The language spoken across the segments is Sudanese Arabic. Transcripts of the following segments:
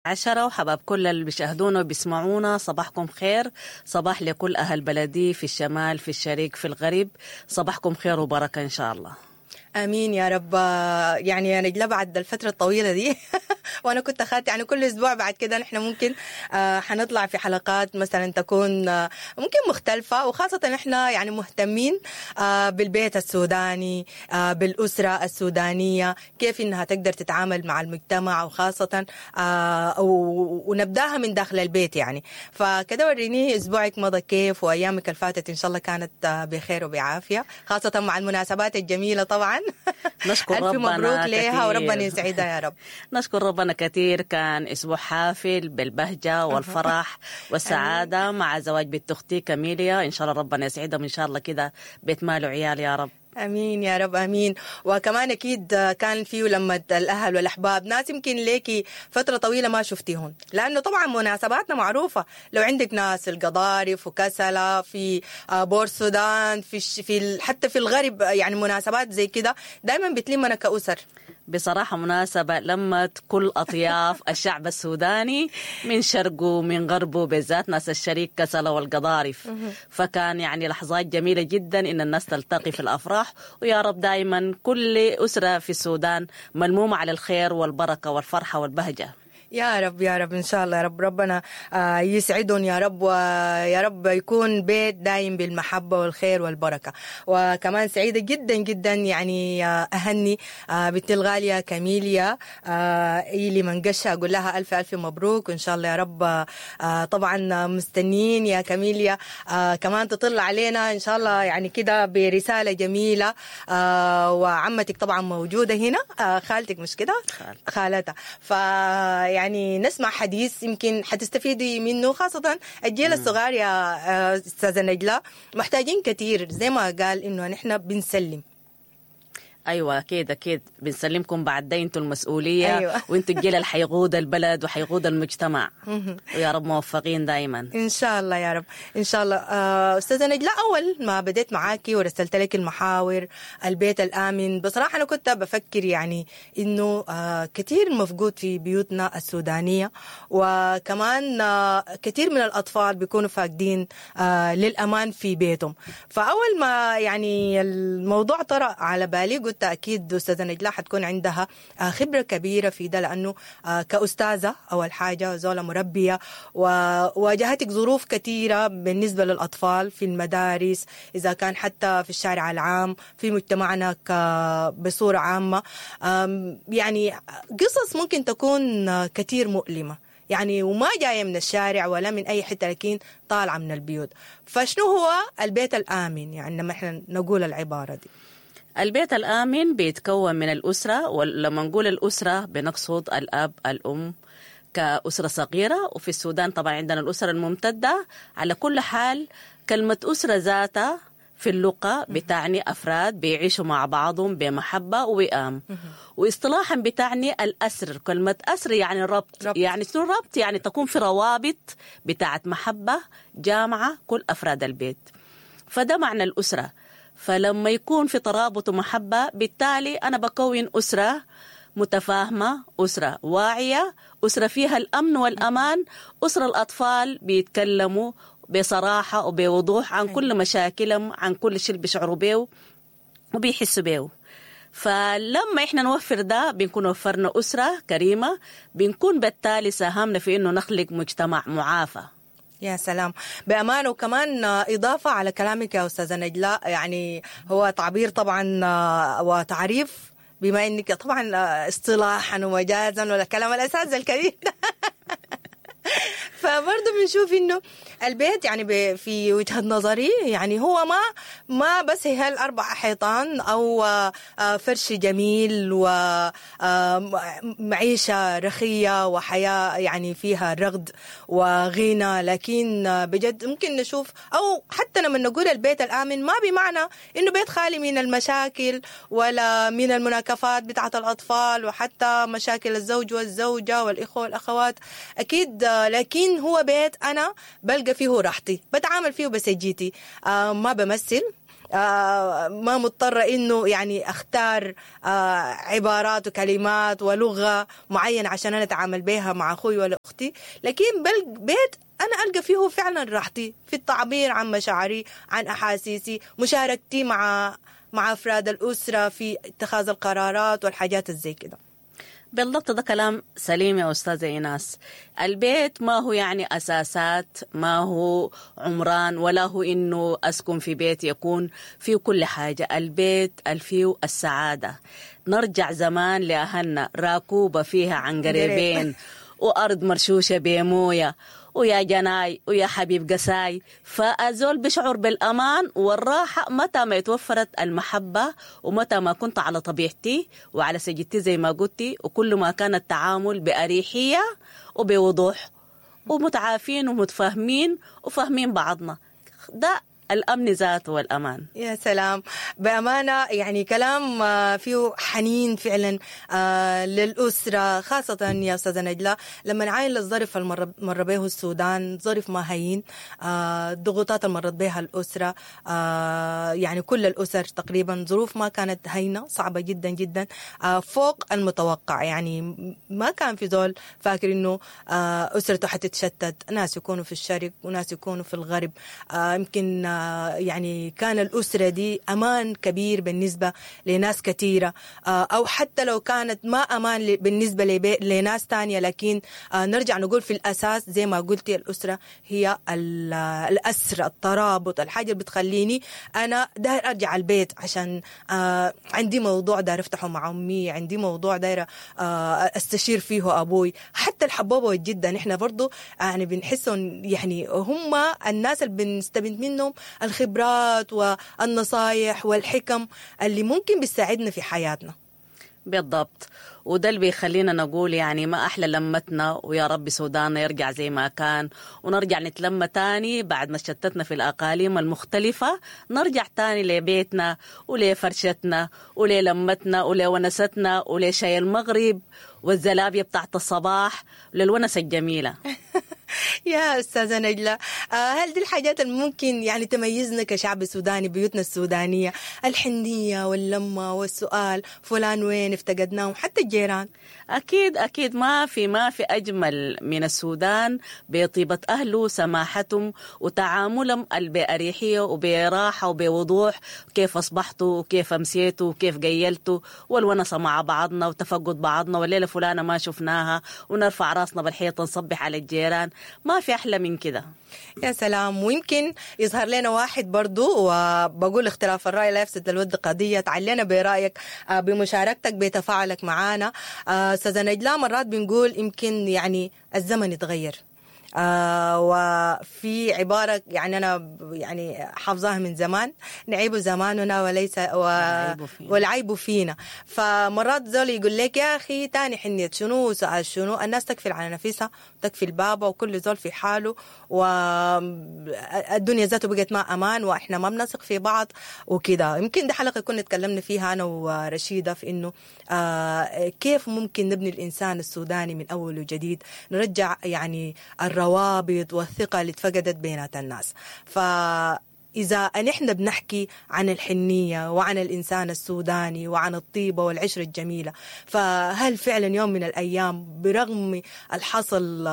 10 وحباب كل اللي بيشاهدونا وبيسمعونا، صباحكم خير. صباح لكل أهل بلدي في الشمال، في الشرق، في الغرب. صباحكم خير وبركة إن شاء الله. امين يا رب. يعني يا نجلاء بعد الفترة الطويلة دي وانا كنت اخذت يعني كل اسبوع بعد كده نحن ممكن حنطلع في حلقات مثلا تكون ممكن مختلفة، وخاصة نحن يعني مهتمين بالبيت السوداني، بالاسرة السودانية، كيف انها تقدر تتعامل مع المجتمع، وخاصة ونبداها من داخل البيت يعني. فكده وريني اسبوعك مضى كيف وايامك اللي فاتت ان شاء الله كانت بخير وبعافيه، خاصة مع المناسبات الجميلة طبعا. نشكر ألف ربنا مبروك ليها وربنا كثير. يسعدها يا رب. نشكر ربنا كثير، كان أسبوع حافل بالبهجة والفرح والسعادة مع زواج بنت أختي كاميليا، إن شاء الله ربنا يسعدهم إن شاء الله كده بيت مال وعيال يا رب. امين يا رب امين. وكمان اكيد كان فيه لما الاهل والاحباب، ناس يمكن ليكي فترة طويلة ما شفتيهم، لانه طبعا مناسباتنا معروفة، لو عندك ناس القضارف وكسله في بور السودان، في في حتى في الغرب، يعني مناسبات زي كده دائما بتلمنا كاسر. بصراحة مناسبة لمت كل أطياف الشعب السوداني من شرقه من غربه، بالذات ناس الشريك كسلة والقضارف. فكان يعني لحظات جميلة جدا إن الناس تلتقي في الأفراح، ويا رب دائما كل أسرة في السودان ملمومة على الخير والبركة والفرحة والبهجة. يا رب يا رب ان شاء الله يا رب، ربنا يسعدهم يا رب، ويا رب يكون بيت دايم بالمحبة والخير والبركة. وكمان سعيدة جدا جدا يعني اهني بنتي الغالية كاميليا إيلي منقشه، اقول لها الف الف مبروك، وان شاء الله يا رب طبعا مستنيين يا كاميليا كمان تطل علينا ان شاء الله يعني كده برسالة جميلة. وعمتك طبعا موجودة هنا، خالتك مش كده؟ خالتها. فيعني نسمع حديث يمكن حتستفيدي منه، خاصة الجيل الصغار يا أستاذة نجلاء محتاجين كثير، زي ما قال إنه نحن بنسلم. ايوه اكيد اكيد بنسلمكم بعد ده، انتوا المسؤولية. أيوة. وانتوا الجيل اللي حيقود البلد وحيقود المجتمع، ويا رب موفقين دائما ان شاء الله يا رب ان شاء الله. استاذه نجلاء، اول ما بديت معاكي ورسلت لك المحاور البيت الامن، بصراحة انا كنت بفكر يعني انه كثير مفقود في بيوتنا السودانية، وكمان كثير من الاطفال بيكونوا فاقدين للامان في بيتهم. فاول ما يعني الموضوع طرأ على بالي قلت اكيد استاذه نجلاء حتكون عندها خبره كبيرة في ده، لانه كاستاذه اول حاجة زوله مربيه، وواجهتك ظروف كثيرة بالنسبة للاطفال في المدارس، اذا كان حتى في الشارع العام، في مجتمعنا بصورة عامة، يعني قصص ممكن تكون كثير مؤلمة يعني، وما جاية من الشارع ولا من اي حتة، لكن طالعه من البيوت. فشنو هو البيت الامن يعني لما احنا نقول العبارة دي؟ البيت الآمن بيتكون من الأسرة، ولما نقول الأسرة بنقصد الأب الأم كأسرة صغيرة، وفي السودان طبعا عندنا الأسرة الممتدة. على كل حال كلمة أسرة ذاتها في اللغة بتعني أفراد بيعيشوا مع بعضهم بمحبة ووئام، واصطلاحا بتعني الأسر. كلمة أسر يعني ربط. يعني شنو ربط؟ يعني تكون في روابط بتاعت محبة جامعة كل أفراد البيت، فده معنى الأسرة. فلما يكون في ترابط ومحبة بالتالي أنا بكون أسرة متفاهمة، أسرة واعية، أسرة فيها الأمن والأمان، أسرة الأطفال بيتكلموا بصراحة وبوضوح عن كل مشاكلهم، عن كل شيء بيشعروا بيه وبيحسوا بيه. فلما إحنا نوفر ده بنكون وفرنا أسرة كريمة، بنكون بالتالي ساهمنا في إنه نخلق مجتمع معافى. يا سلام بأمانة. وكمان إضافة على كلامك يا أستاذة نجلاء، يعني هو تعبير طبعا وتعريف، بما أنك طبعا اصطلاحا ومجازا ولا كلام الأساتذة الكبير فبرضه بنشوف انه البيت يعني في وجهة نظري يعني هو ما بس هي الاربع حيطان او فرش جميل ومعيشة رخية وحياة يعني فيها رغد وغنى، لكن بجد ممكن نشوف او حتى لما نقول البيت الامن ما بمعنى انه بيت خالي من المشاكل ولا من المناكفات بتاعة الاطفال وحتى مشاكل الزوج والزوجة والاخوة والاخوات اكيد، لكن هو بيت انا بلقى فيه راحتي، بتعامل فيه بسجيتي، ما بمثل، ما مضطرة انه يعني اختار عبارات وكلمات ولغة معينة عشان انا اتعامل بيها مع اخوي ولا اختي، لكن بيت انا القى فيه فعلا راحتي في التعبير عن مشاعري، عن احاسيسي، مشاركتي مع افراد الاسرة في اتخاذ القرارات والحاجات الزي كده. بالضبط، ده كلام سليم يا أستاذة إيناس. البيت ما هو يعني أساسات، ما هو عمران، ولا هو إنه أسكن في بيت يكون فيه كل حاجة. البيت فيه السعادة. نرجع زمان لأهلنا، راكوبة فيها عنقريبين وأرض مرشوشة بموية ويا جناي ويا حبيب قساي. فأزول بشعر بالأمان والراحة متى ما يتوفرت المحبة، ومتى ما كنت على طبيعتي وعلى سجدتي زي ما قلتي، وكل ما كان التعامل بأريحية وبوضوح ومتعافين ومتفاهمين وفاهمين بعضنا، ده الأمن ذاته والأمان. يا سلام، بأمانة يعني كلام فيه حنين فعلا للأسرة، خاصة يا أستاذة نجلاء لما نعاين للظرف اللي مر به السودان، ظرف ما هين، الضغوطات اللي مرت بها الأسرة، يعني كل الأسر تقريبا ظروف ما كانت هينة، صعبة جدا جدا، فوق المتوقع. يعني ما كان في زول فاكر إنه أسرته حتتشتت، ناس يكونوا في الشرق وناس يكونوا في الغرب. يمكن يعني كان الأسرة دي أمان كبير بالنسبة لناس كثيرة، أو حتى لو كانت ما أمان بالنسبة لناس تانية، لكن نرجع نقول في الأساس زي ما قلتي الأسرة هي الأسرة، الترابط، الحاجة اللي بتخليني أنا داير أرجع البيت عشان عندي موضوع داير أفتحه مع أمي، عندي موضوع داير أستشير فيه أبوي. حتى الحبوبة والجدة نحن برضو يعني بنحسهم، يعني هم الناس اللي بنستمد منهم الخبرات والنصايح والحكم اللي ممكن بتساعدنا في حياتنا. بالضبط، وده اللي بيخلينا نقول يعني ما أحلى لمتنا، ويا رب سوداننا يرجع زي ما كان، ونرجع نتلم تاني بعد ما شتتنا في الأقاليم المختلفة، نرجع تاني لبيتنا ولفرشتنا وللمتنا ولونستنا ولشاي المغرب والزلابية بتاعت الصباح، للونسة الجميلة. يا أستاذة نجلاء، هل دي الحاجات اللي ممكن يعني تميزنا كشعب سوداني، بيوتنا السودانية، الحنية واللمة والسؤال فلان وين افتقدناه، حتى الجيران؟ أكيد أكيد، ما في أجمل من السودان بطيبة أهله، سماحتهم وتعاملهم بأريحية وبراحة وبوضوح، كيف أصبحتوا وكيف أمسيتوا وكيف قيلتوا، والونسة مع بعضنا وتفقد بعضنا، والليلة فلانة ما شفناها، ونرفع راسنا بالحيطة نصبح على الجيران. ما في أحلى من كده. يا سلام. ويمكن يظهر لنا واحد برضو، وبقول اختلاف الرأي لا يفسد للود قضية، تعلينا برأيك، بمشاركتك، بتفاعلك معانا. أستاذة نجلاء، مرات بنقول يمكن يعني الزمن يتغير، وفي عبارة يعني أنا يعني حافظاها من زمان، نعيب زماننا وليس والعيب فينا. فمرات زول يقول لك يا أخي تاني حنيت شنو سؤال شنو، الناس تكفل على نفسها وتكفل بابا وكل زول في حاله، والدنيا ذاته بقت ما أمان وإحنا ما بنثق في بعض وكده. يمكن ده حلقة كنا تكلمنا فيها أنا ورشيدة في إنه كيف ممكن نبني الإنسان السوداني من أول وجديد، نرجع يعني الروابط والثقة اللي اتفقدت بينات الناس. فإذا نحن بنحكي عن الحنية وعن الإنسان السوداني وعن الطيبة والعشرة الجميلة، فهل فعلا يوم من الأيام برغم الحصل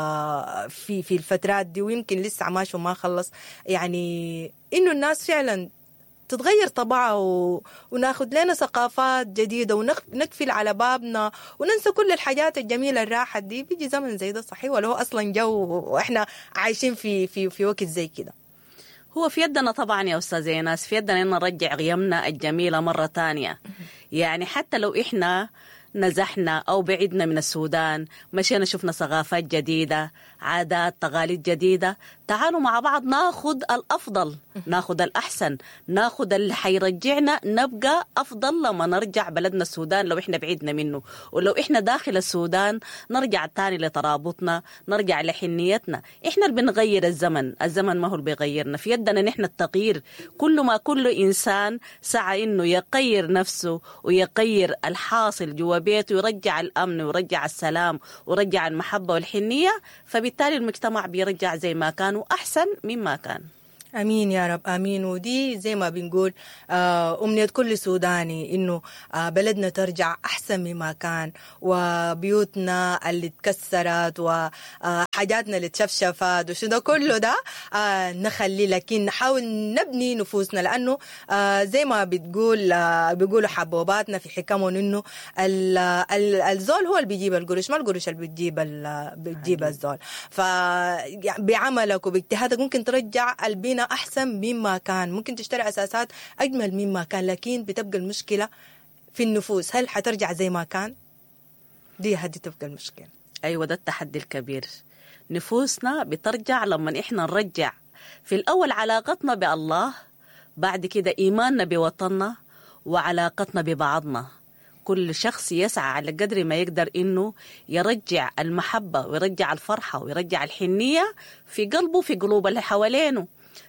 في الفترات دي، ويمكن لسه ماشي وما خلص، يعني إنه الناس فعلا تتغير طبعها وناخد لنا ثقافات جديدة ونقفل على بابنا وننسى كل الحاجات الجميلة الراحة دي؟ بيجي زمن زي ده صحيح، ولا هو أصلا جو وإحنا عايشين في في في وقت زي كده؟ هو في يدنا طبعا يا أستاذة إيناس، في يدنا إن نرجع قيمنا الجميلة مرة تانية. يعني حتى لو إحنا نزحنا أو بعدنا من السودان، مشينا شفنا ثقافات جديدة، عادات، تقاليد جديدة، تعالوا مع بعض ناخد الأفضل، ناخد الأحسن، ناخد اللي حيرجعنا نبقى أفضل لما نرجع بلدنا السودان لو إحنا بعيدنا منه. ولو إحنا داخل السودان نرجع تاني لترابطنا، نرجع لحنيتنا. إحنا اللي بنغير الزمن، الزمن ما هو اللي بيغيرنا، في يدنا نحن التغيير. كل ما كل إنسان سعى إنه يغير نفسه ويغير الحاصل جوا بيته، ويرجع الأمن ويرجع السلام ويرجع المحبة والحنية، فبالتالي المجتمع بيرجع زي ما كان وأحسن مما كان. امين يا رب، امين. ودي زي ما بنقول امنية كل سوداني انه بلدنا ترجع احسن مما كان، وبيوتنا اللي اتكسرت وحاجاتنا اللي اتشفشفت وشو ده كله ده نخلي، لكن نحاول نبني نفوسنا، لانه زي ما بتقول بيقولوا حبوباتنا في حكمهم انه الزول هو اللي بيجيب القروش، ما القروش اللي بتجيب الزول. فبعملك وباجتهادك ممكن ترجع البناء أحسن مما كان، ممكن تشتري أساسات أجمل مما كان، لكن بتبقى المشكلة في النفوس. هل حترجع زي ما كان؟ دي هدي تبقى المشكلة. أيوة، ده التحدي الكبير. نفوسنا بترجع لما إحنا نرجع في الأول علاقتنا بالله، بعد كده إيماننا بوطننا وعلاقتنا ببعضنا. كل شخص يسعى على قدر ما يقدر إنه يرجع المحبة ويرجع الفرحة ويرجع الحنية في قلبه، في قلوب اللي حوالينه.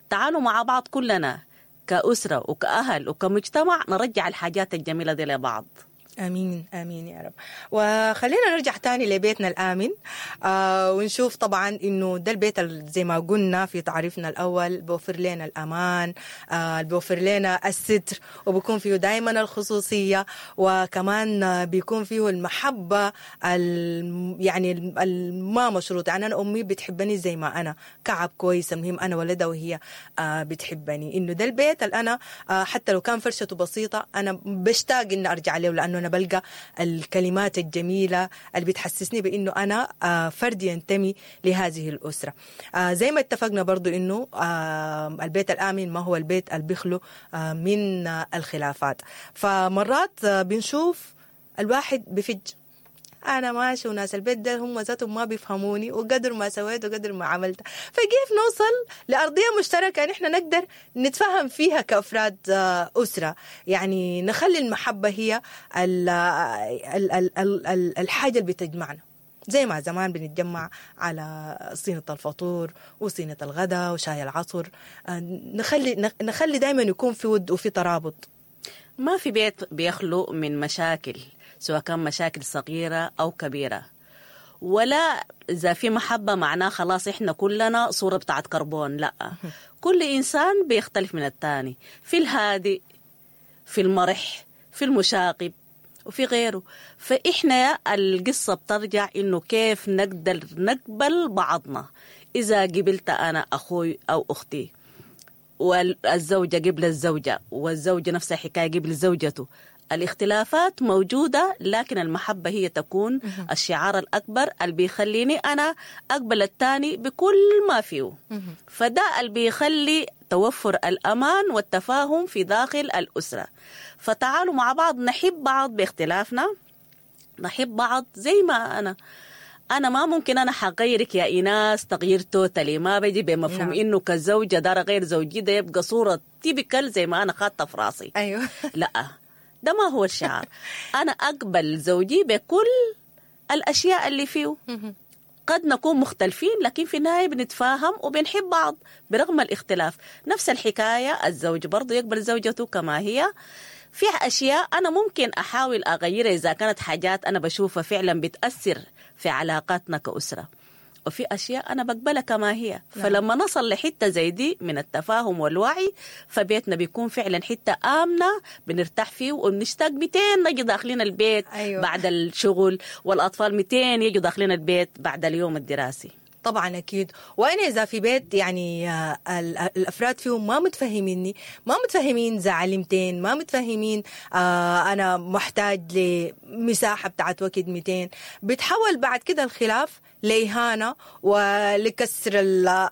تعالوا مع بعض كلنا كأسرة وكأهل وكمجتمع نرجع الحاجات الجميلة دي لبعض. امين امين يا رب. وخلينا نرجع تاني لبيتنا الامن ونشوف طبعا انه ده البيت زي ما قلنا في تعريفنا الاول بوفر لنا الامان، بوفر لنا الستر، وبيكون فيه دائما الخصوصية، وكمان بيكون فيه المحبة يعني ما مشروط. يعني انا امي بتحبني زي ما انا، كعب كويس، المهم انا ولدها وهي بتحبني. انه ده البيت اللي انا حتى لو كان فرشته بسيطة انا بشتاق اني ارجع له، لانه أنا بلقى الكلمات الجميلة اللي بتحسسني بأنه أنا فرد ينتمي لهذه الأسرة. زي ما اتفقنا برضو أنه البيت الآمن ما هو البيت اللي بيخلو من الخلافات. فمرات بنشوف الواحد بفج، أنا ماشي وناس البيت ده هم ذاتهم ما بيفهموني، وقدر ما سويت وقدر ما عملت. فكيف نوصل لأرضية مشتركة نحن نقدر نتفهم فيها كأفراد أسرة؟ يعني نخلي المحبة هي ال ال ال ال الحاجة اللي بتجمعنا، زي ما زمان بنتجمع على صينية الفطور وصينية الغداء وشاي العصر. نخلي دايما يكون في ود وفي ترابط. ما في بيت بيخلو من مشاكل، سواء كان مشاكل صغيرة أو كبيرة. ولا إذا في محبة معناه خلاص إحنا كلنا صورة بتاعت كربون، لا. كل إنسان بيختلف من الثاني، في الهادئ، في المرح، في المشاغب، وفي غيره. فإحنا القصة بترجع إنه كيف نقدر نقبل بعضنا. إذا قبلت أنا أخوي أو أختي، والزوجة قبل الزوجة، والزوجة نفسها حكاية قبل زوجته، الاختلافات موجودة، لكن المحبة هي تكون الشعار الأكبر اللي بيخليني أنا أقبل الثاني بكل ما فيه. فده اللي بيخلي توفر الأمان والتفاهم في داخل الأسرة. فتعالوا مع بعض نحب بعض باختلافنا، نحب بعض زي ما أنا ما ممكن أنا حغيرك يا إيناس تغيير totally، ما بيجي بمفهوم إنه كزوجة دار غير زوجي ده يبقى صورة typical زي ما أنا خاطة في راسي. أيوه. لا، ده ما هو الشعار. أنا أقبل زوجي بكل الأشياء اللي فيه. قد نكون مختلفين، لكن في النهاية بنتفاهم وبنحب بعض برغم الاختلاف. نفس الحكاية الزوج برضو يقبل زوجته كما هي. في أشياء أنا ممكن أحاول أغيرها إذا كانت حاجات أنا بشوفها فعلا بتأثر في علاقاتنا كأسرة، وفي أشياء أنا بقبلها كما هي. فلما نصل لحتة زي دي من التفاهم والوعي، فبيتنا بيكون فعلا حتة آمنة بنرتاح فيه، وبنشتاق 200 نجي داخلين البيت. أيوة. بعد الشغل، والأطفال 200 يجوا داخلين البيت بعد اليوم الدراسي. طبعا أكيد. وأنا إذا في بيت يعني الأفراد فيهم ما متفهميني، ما متفهمين زعلمتين، ما متفهمين أنا محتاج لمساحة بتاعت وقت 200، بتحول بعد كده الخلاف لإهانة ولكسر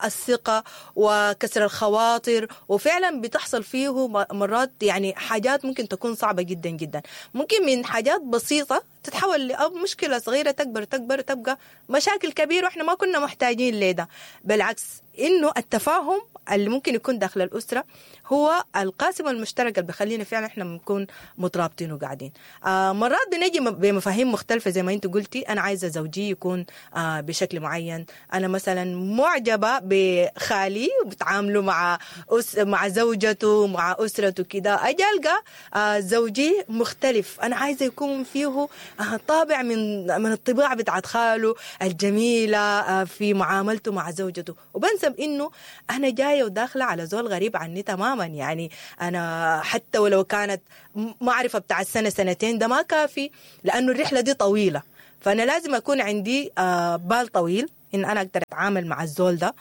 الثقة وكسر الخواطر، وفعلا بتحصل فيه مرات يعني حاجات ممكن تكون صعبة جدا جدا. ممكن من حاجات بسيطة تتحول لمشكلة صغيرة تكبر تكبر تبقى مشاكل كبيرة، وإحنا ما كنا محتاجين لده. بالعكس، إنه التفاهم اللي ممكن يكون داخل الأسرة هو القاسم المشترك اللي بيخلينا فعلا إحنا بنكون مترابطين وقاعدين. مرات بنجي بمفاهيم مختلفة زي ما أنت قلتي، أنا عايزة زوجي يكون بشكل معين، أنا مثلا معجبة بخالي وبتعامله مع زوجته مع أسرته كده، أجي ألقى زوجي مختلف، أنا عايزة يكون فيه طابع من الطباع بتاعت خاله الجميلة في معاملته مع زوجته، وبنسى حسب انه انا جاية وداخله على زول غريب عني تماما. يعني انا حتى ولو كانت معرفة بتاع السنة سنتين ده ما كافي، لانه الرحلة دي طويلة، فانا لازم اكون عندي بال طويل ان انا اقدر اتعامل مع الزول ده.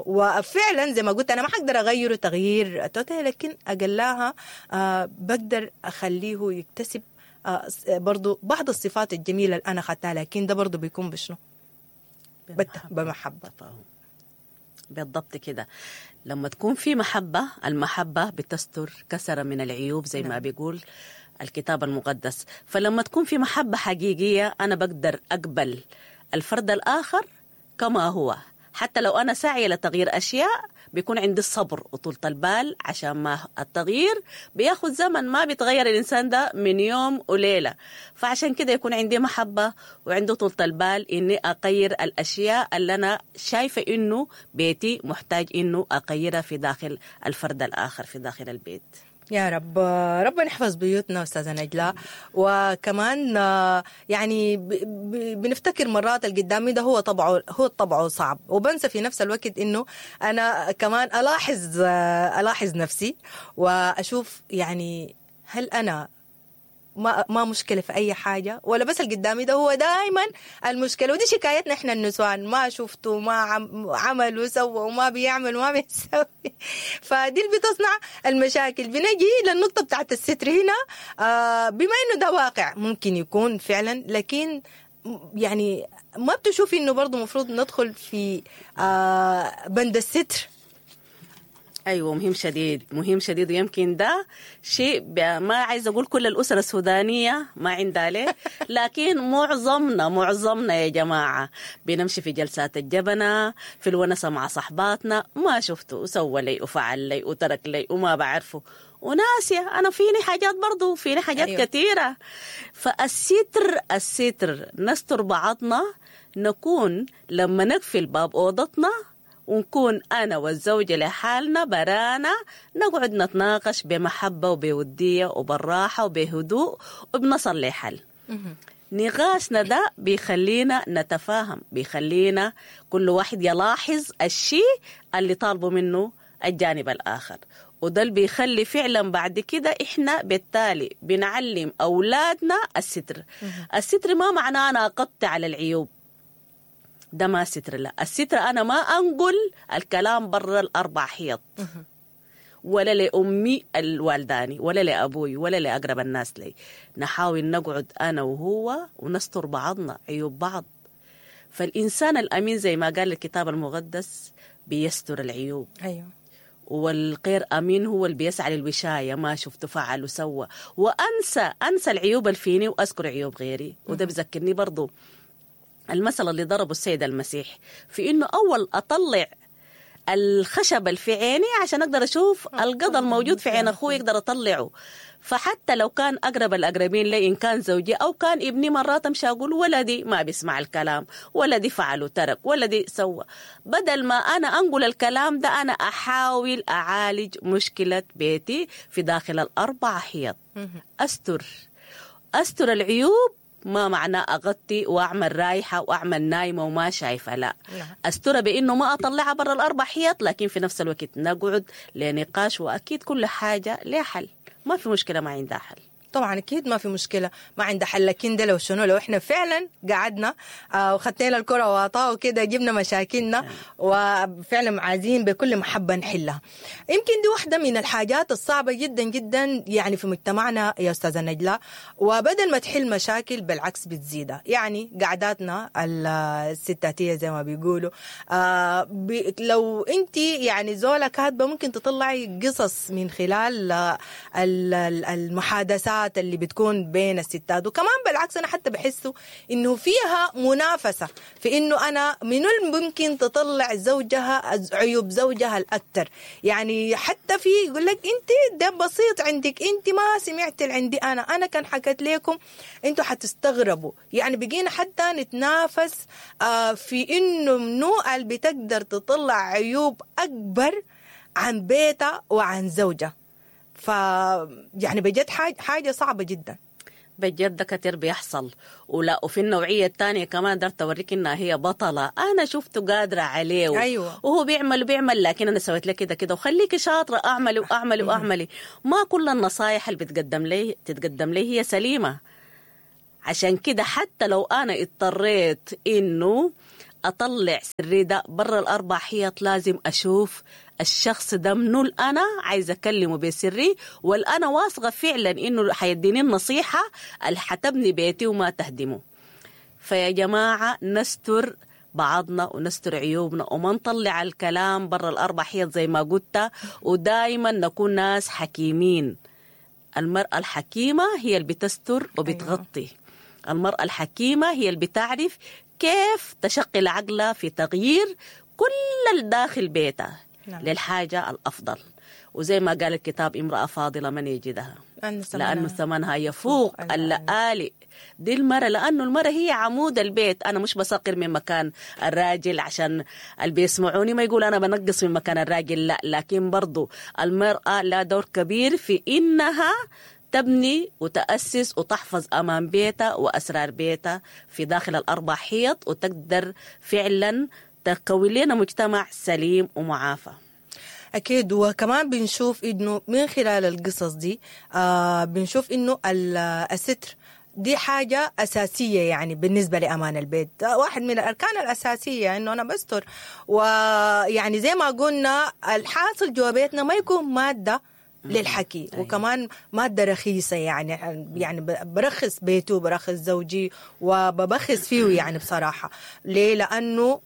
وفعلا زي ما قلت انا ما حقدر اغيره تغيير total، لكن اقلاها بقدر اخليه يكتسب برضو بعض الصفات الجميلة اللي انا اخذتها، لكن ده برضو بيكون بشنو؟ بمحبة. بالضبط كده. لما تكون في محبة، المحبة بتستر كثرة من العيوب زي ما بيقول الكتاب المقدس. فلما تكون في محبة حقيقية أنا بقدر أقبل الفرد الآخر كما هو، حتى لو أنا ساعية لتغيير أشياء بيكون عندي الصبر وطولة البال، عشان ما التغيير بياخد زمن، ما بيتغير الإنسان ده من يوم وليلة. فعشان كده يكون عندي محبة وعنده طولة البال إني أغير الأشياء اللي أنا شايفة إنه بيتي محتاج إنه أغيرها في داخل الفرد الآخر في داخل البيت. يا رب ربنا يحفظ بيوتنا أستاذة نجلاء. وكمان يعني بنفتكر مرات القدامي ده هو طبعه صعب، وبنسى في نفس الوقت إنه أنا كمان ألاحظ نفسي وأشوف يعني هل أنا ما مشكلة في أي حاجة، ولا بس القدامي ده هو دائما المشكلة. ودي شكايتنا إحنا النسوان، ما شفته ما عمل وسوى وما بيعمل وما بيسوي، فدي اللي بتصنع المشاكل. بنجي للنقطة بتاعت الستر هنا، بما إنه ده واقع ممكن يكون فعلا، لكن يعني ما بتشوفي إنه برضو مفروض ندخل في بند الستر؟ أيوة، مهم شديد، مهم شديد. ويمكن ده شيء ما عايز أقول كل الأسرة السودانية ما عندها ليه، لكن معظمنا يا جماعة بنمشي في جلسات الجبنة، في الونسة مع صحباتنا، ما شفته وسوى لي وفعل لي وترك لي وما بعرفه وناسية أنا فيني حاجات برضو، فيني حاجات أيوة. كثيرة. فالستر، الستر نستر بعضنا، نكون لما نقفل باب أوضتنا ونكون أنا والزوجة لحالنا برانا، نقعد نتناقش بمحبة وبودية وبالراحة وبهدوء وبنصل لحل. نقاشنا ده بيخلينا نتفاهم، بيخلينا كل واحد يلاحظ الشيء اللي طالبه منه الجانب الآخر، وده اللي بيخلي فعلا بعد كده إحنا بالتالي بنعلم أولادنا الستر. الستر ما معناه أنا أقطع على العيوب، ده ما ستر. لا، الستر أنا ما أنقل الكلام برا الأربع حيط، ولا لأمي الوالداني ولا لأبوي ولا لأقرب الناس لي. نحاول نقعد أنا وهو ونستر بعضنا عيوب بعض. فالإنسان الأمين زي ما قال الكتاب المقدس بيستر العيوب. أيوه. والغير أمين هو اللي بيسعى للوشاية، ما شفته فعل وسوى، وأنسى العيوب الفيني وأذكر عيوب غيري. وده بذكرني برضو المثل اللي ضربه السيد المسيح في إنه أول أطلع الخشب اللي في عيني عشان أقدر أشوف القضا الموجود في عين أخوي أقدر أطلعه. فحتى لو كان أقرب الأقربين لي، إن كان زوجي أو كان ابني، مرات أمشي أقول ولدي ما بيسمع الكلام، ولدي فعل وترك، ولدي سوى. بدل ما أنا أنقل الكلام ده، أنا أحاول أعالج مشكلة بيتي في داخل الأربع حيط. أستر العيوب، ما معناه أغطي وأعمل رايحة وأعمل نايمة وما شايفة، لا. أسترها بإنه ما أطلعها برا الأربع حيط، لكن في نفس الوقت نقعد لنقاش، وأكيد كل حاجة لها حل، ما في مشكلة ما عندها حل. طبعا اكيد ما في مشكلة ما عندها حل، لكن ده لو شنو، لو احنا فعلا قعدنا وخدتنا الكره وعطاء وكده، جبنا مشاكلنا وفعلا عايزين بكل محبة نحلها. يمكن دي واحدة من الحاجات الصعبة جدا جدا يعني في مجتمعنا يا استاذه نجلاء، وبدل ما تحل مشاكل بالعكس بتزيدها. يعني قعداتنا الستاتيه زي ما بيقولوا، لو انت يعني زوله كاتبه ممكن تطلعي قصص من خلال المحادثات اللي بتكون بين الستات. وكمان بالعكس انا حتى بحسه انه فيها منافسه في انه انا من ممكن تطلع زوجها عيوب زوجها الاكثر. يعني حتى في يقول لك انت ده بسيط عندك، انت ما سمعت اللي عندي انا كان حكيت لكم انتوا حتستغربوا. يعني بقينا حتى نتنافس في انه منو اللي بتقدر تطلع عيوب اكبر عن بيتها وعن زوجها. ف يعني بجد حاجة صعبة جدا. بجد ده كتير بيحصل. ولا وفي النوعية الثانية كمان درت أوريك إنها هي بطلة، أنا شفته قادرة عليه. أيوة. وهو بيعمل وبيعمل، لكن أنا سويت لك كده كده، وخليكي شاطرة، أعملي وأعملي وأعملي. ما كل النصايح اللي بتقدم لي تتقدم لي هي سليمة. عشان كده حتى لو أنا اضطريت إنه أطلع سري ده برا الأربع حيط، لازم أشوف الشخص ده منو أنا عايزة أكلمه بسري، والأنا واثقة فعلا إنه حيديني النصيحة اللي حتبني بيتي وما تهدمه. فيا جماعة نستر بعضنا ونستر عيوبنا وما نطلع الكلام برا الأربع حيط زي ما قلت، ودايما نكون ناس حكيمين. المرأة الحكيمة هي اللي بتستر وبتغطي. أيوة. المرأة الحكيمة هي اللي بتعرف كيف تشغل عقلها في تغيير كل الداخل بيتها. نعم. للحاجة الأفضل. وزي ما قال الكتاب امرأة فاضلة من يجدها، لأنه ثمنها يفوق اللآلئ. دي المرأة، لأنه المرأة هي عمود البيت. أنا مش بسقر من مكان الراجل عشان اللي بيسمعوني ما يقول أنا بنقص من مكان الراجل، لا، لكن برضو المرأة لها دور كبير في إنها تبني وتأسس وتحفظ أمان بيتها وأسرار بيتها في داخل الأربع حيط، وتقدر فعلا تكون لنا مجتمع سليم ومعافى. أكيد. وكمان بنشوف إنه من خلال القصص دي بنشوف إنه الستر دي حاجة أساسية يعني بالنسبة لأمان البيت، واحد من الأركان الأساسية إنه أنا بستر. ويعني زي ما قلنا الحاصل جوا بيتنا ما يكون مادة للحكي. أيوة. وكمان مادة رخيصة، يعني برخص بيته برخص زوجي وببخس فيه يعني بصراحة. ليه؟ لأنه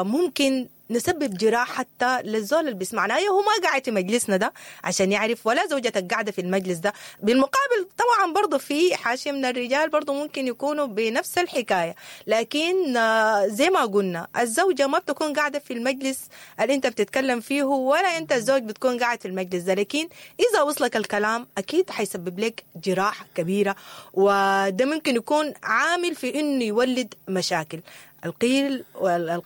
ممكن نسبب جراح حتى للزول اللي بيسمعنا. أيوه هو ما قاعد في مجلسنا ده عشان يعرف، ولا زوجتك قاعدة في المجلس ده. بالمقابل طبعا برضو في حاشية من الرجال برضو ممكن يكونوا بنفس الحكاية، لكن زي ما قلنا الزوجة ما بتكون قاعدة في المجلس اللي انت بتتكلم فيه، ولا انت الزوج بتكون قاعد في المجلس ده. لكن إذا وصلك الكلام أكيد حيسبب لك جراح كبيرة، وده ممكن يكون عامل في إنه يولد مشاكل. القيل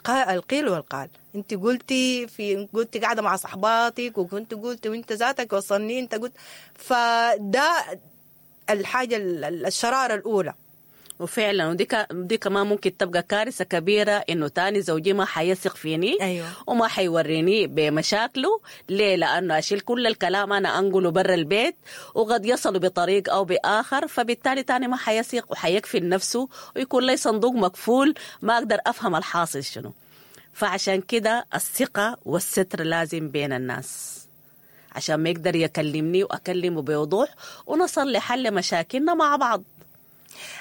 القيل والقال. انت قلتي في قلتي قاعدة مع صحباتك، وكنت قلتي وانت ذاتك وصلني انت قلت، فده الحاجة الشرارة الاولى. وفعلا ودي دي كمان ممكن تبقى كارثة كبيرة، انه تاني زوجي ما حيثق فيني. أيوة. وما حيوريني بمشاكله. ليه؟ لانه اشيل كل الكلام انا انقله برا البيت، وقد يصل بطريق او باخر، فبالتالي تاني ما حيثق وحيكفل نفسه ويكون لي صندوق مقفول ما اقدر افهم الحاصل شنو. فعشان كده الثقة والستر لازم بين الناس، عشان ما يقدر يكلمني واكلمه بوضوح ونصل لحل مشاكلنا مع بعض.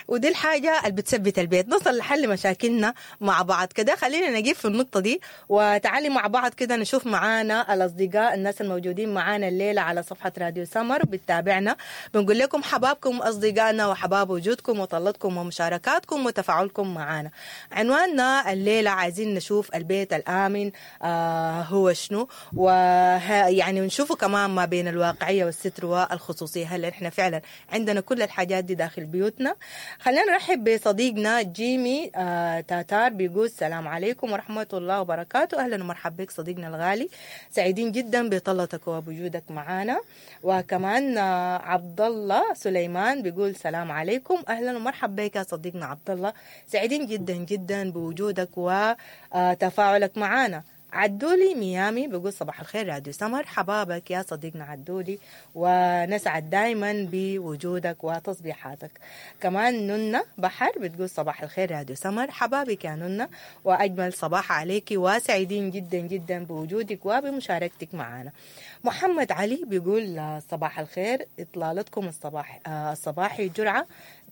ودي الحاجة اللي بتثبت البيت، نصل لحل مشاكلنا مع بعض كده. خلينا نجيب في النقطة دي، وتعالي مع بعض كده نشوف معانا الأصدقاء الناس الموجودين معانا الليلة على صفحة راديو سمر بتتابعنا. بنقول لكم حبابكم أصدقائنا، وحباب وجودكم وطلتكم ومشاركاتكم وتفاعلكم معانا. عنواننا الليلة عايزين نشوف البيت الآمن هو شنو، ويعني نشوفه كمان ما بين الواقعية والستر والخصوصية. هل احنا فعلا عندنا كل الحاجات دي داخل بيوتنا؟ خلينا نرحب بصديقنا جيمي تاتار، بيقول السلام عليكم ورحمة الله وبركاته. أهلا ومرحبا بك صديقنا الغالي، سعيدين جدا بطلتك وبوجودك معنا. وكمان عبد الله سليمان بيقول سلام عليكم. أهلا ومرحبا بك يا صديقنا عبد الله، سعيدين جدا جدا بوجودك وتفاعلك معنا. عدولي ميامي بيقول صباح الخير راديو سمر، حبابك يا صديقنا عدولي، ونسعد دايما بوجودك وتصبيحاتك. كمان نونا بحر بتقول صباح الخير راديو سمر، حبابك يا نونا، وأجمل صباح عليك، وسعيدين جدا جدا بوجودك وبمشاركتك معنا. محمد علي بيقول صباح الخير، إطلالتكم الصباح الصباحي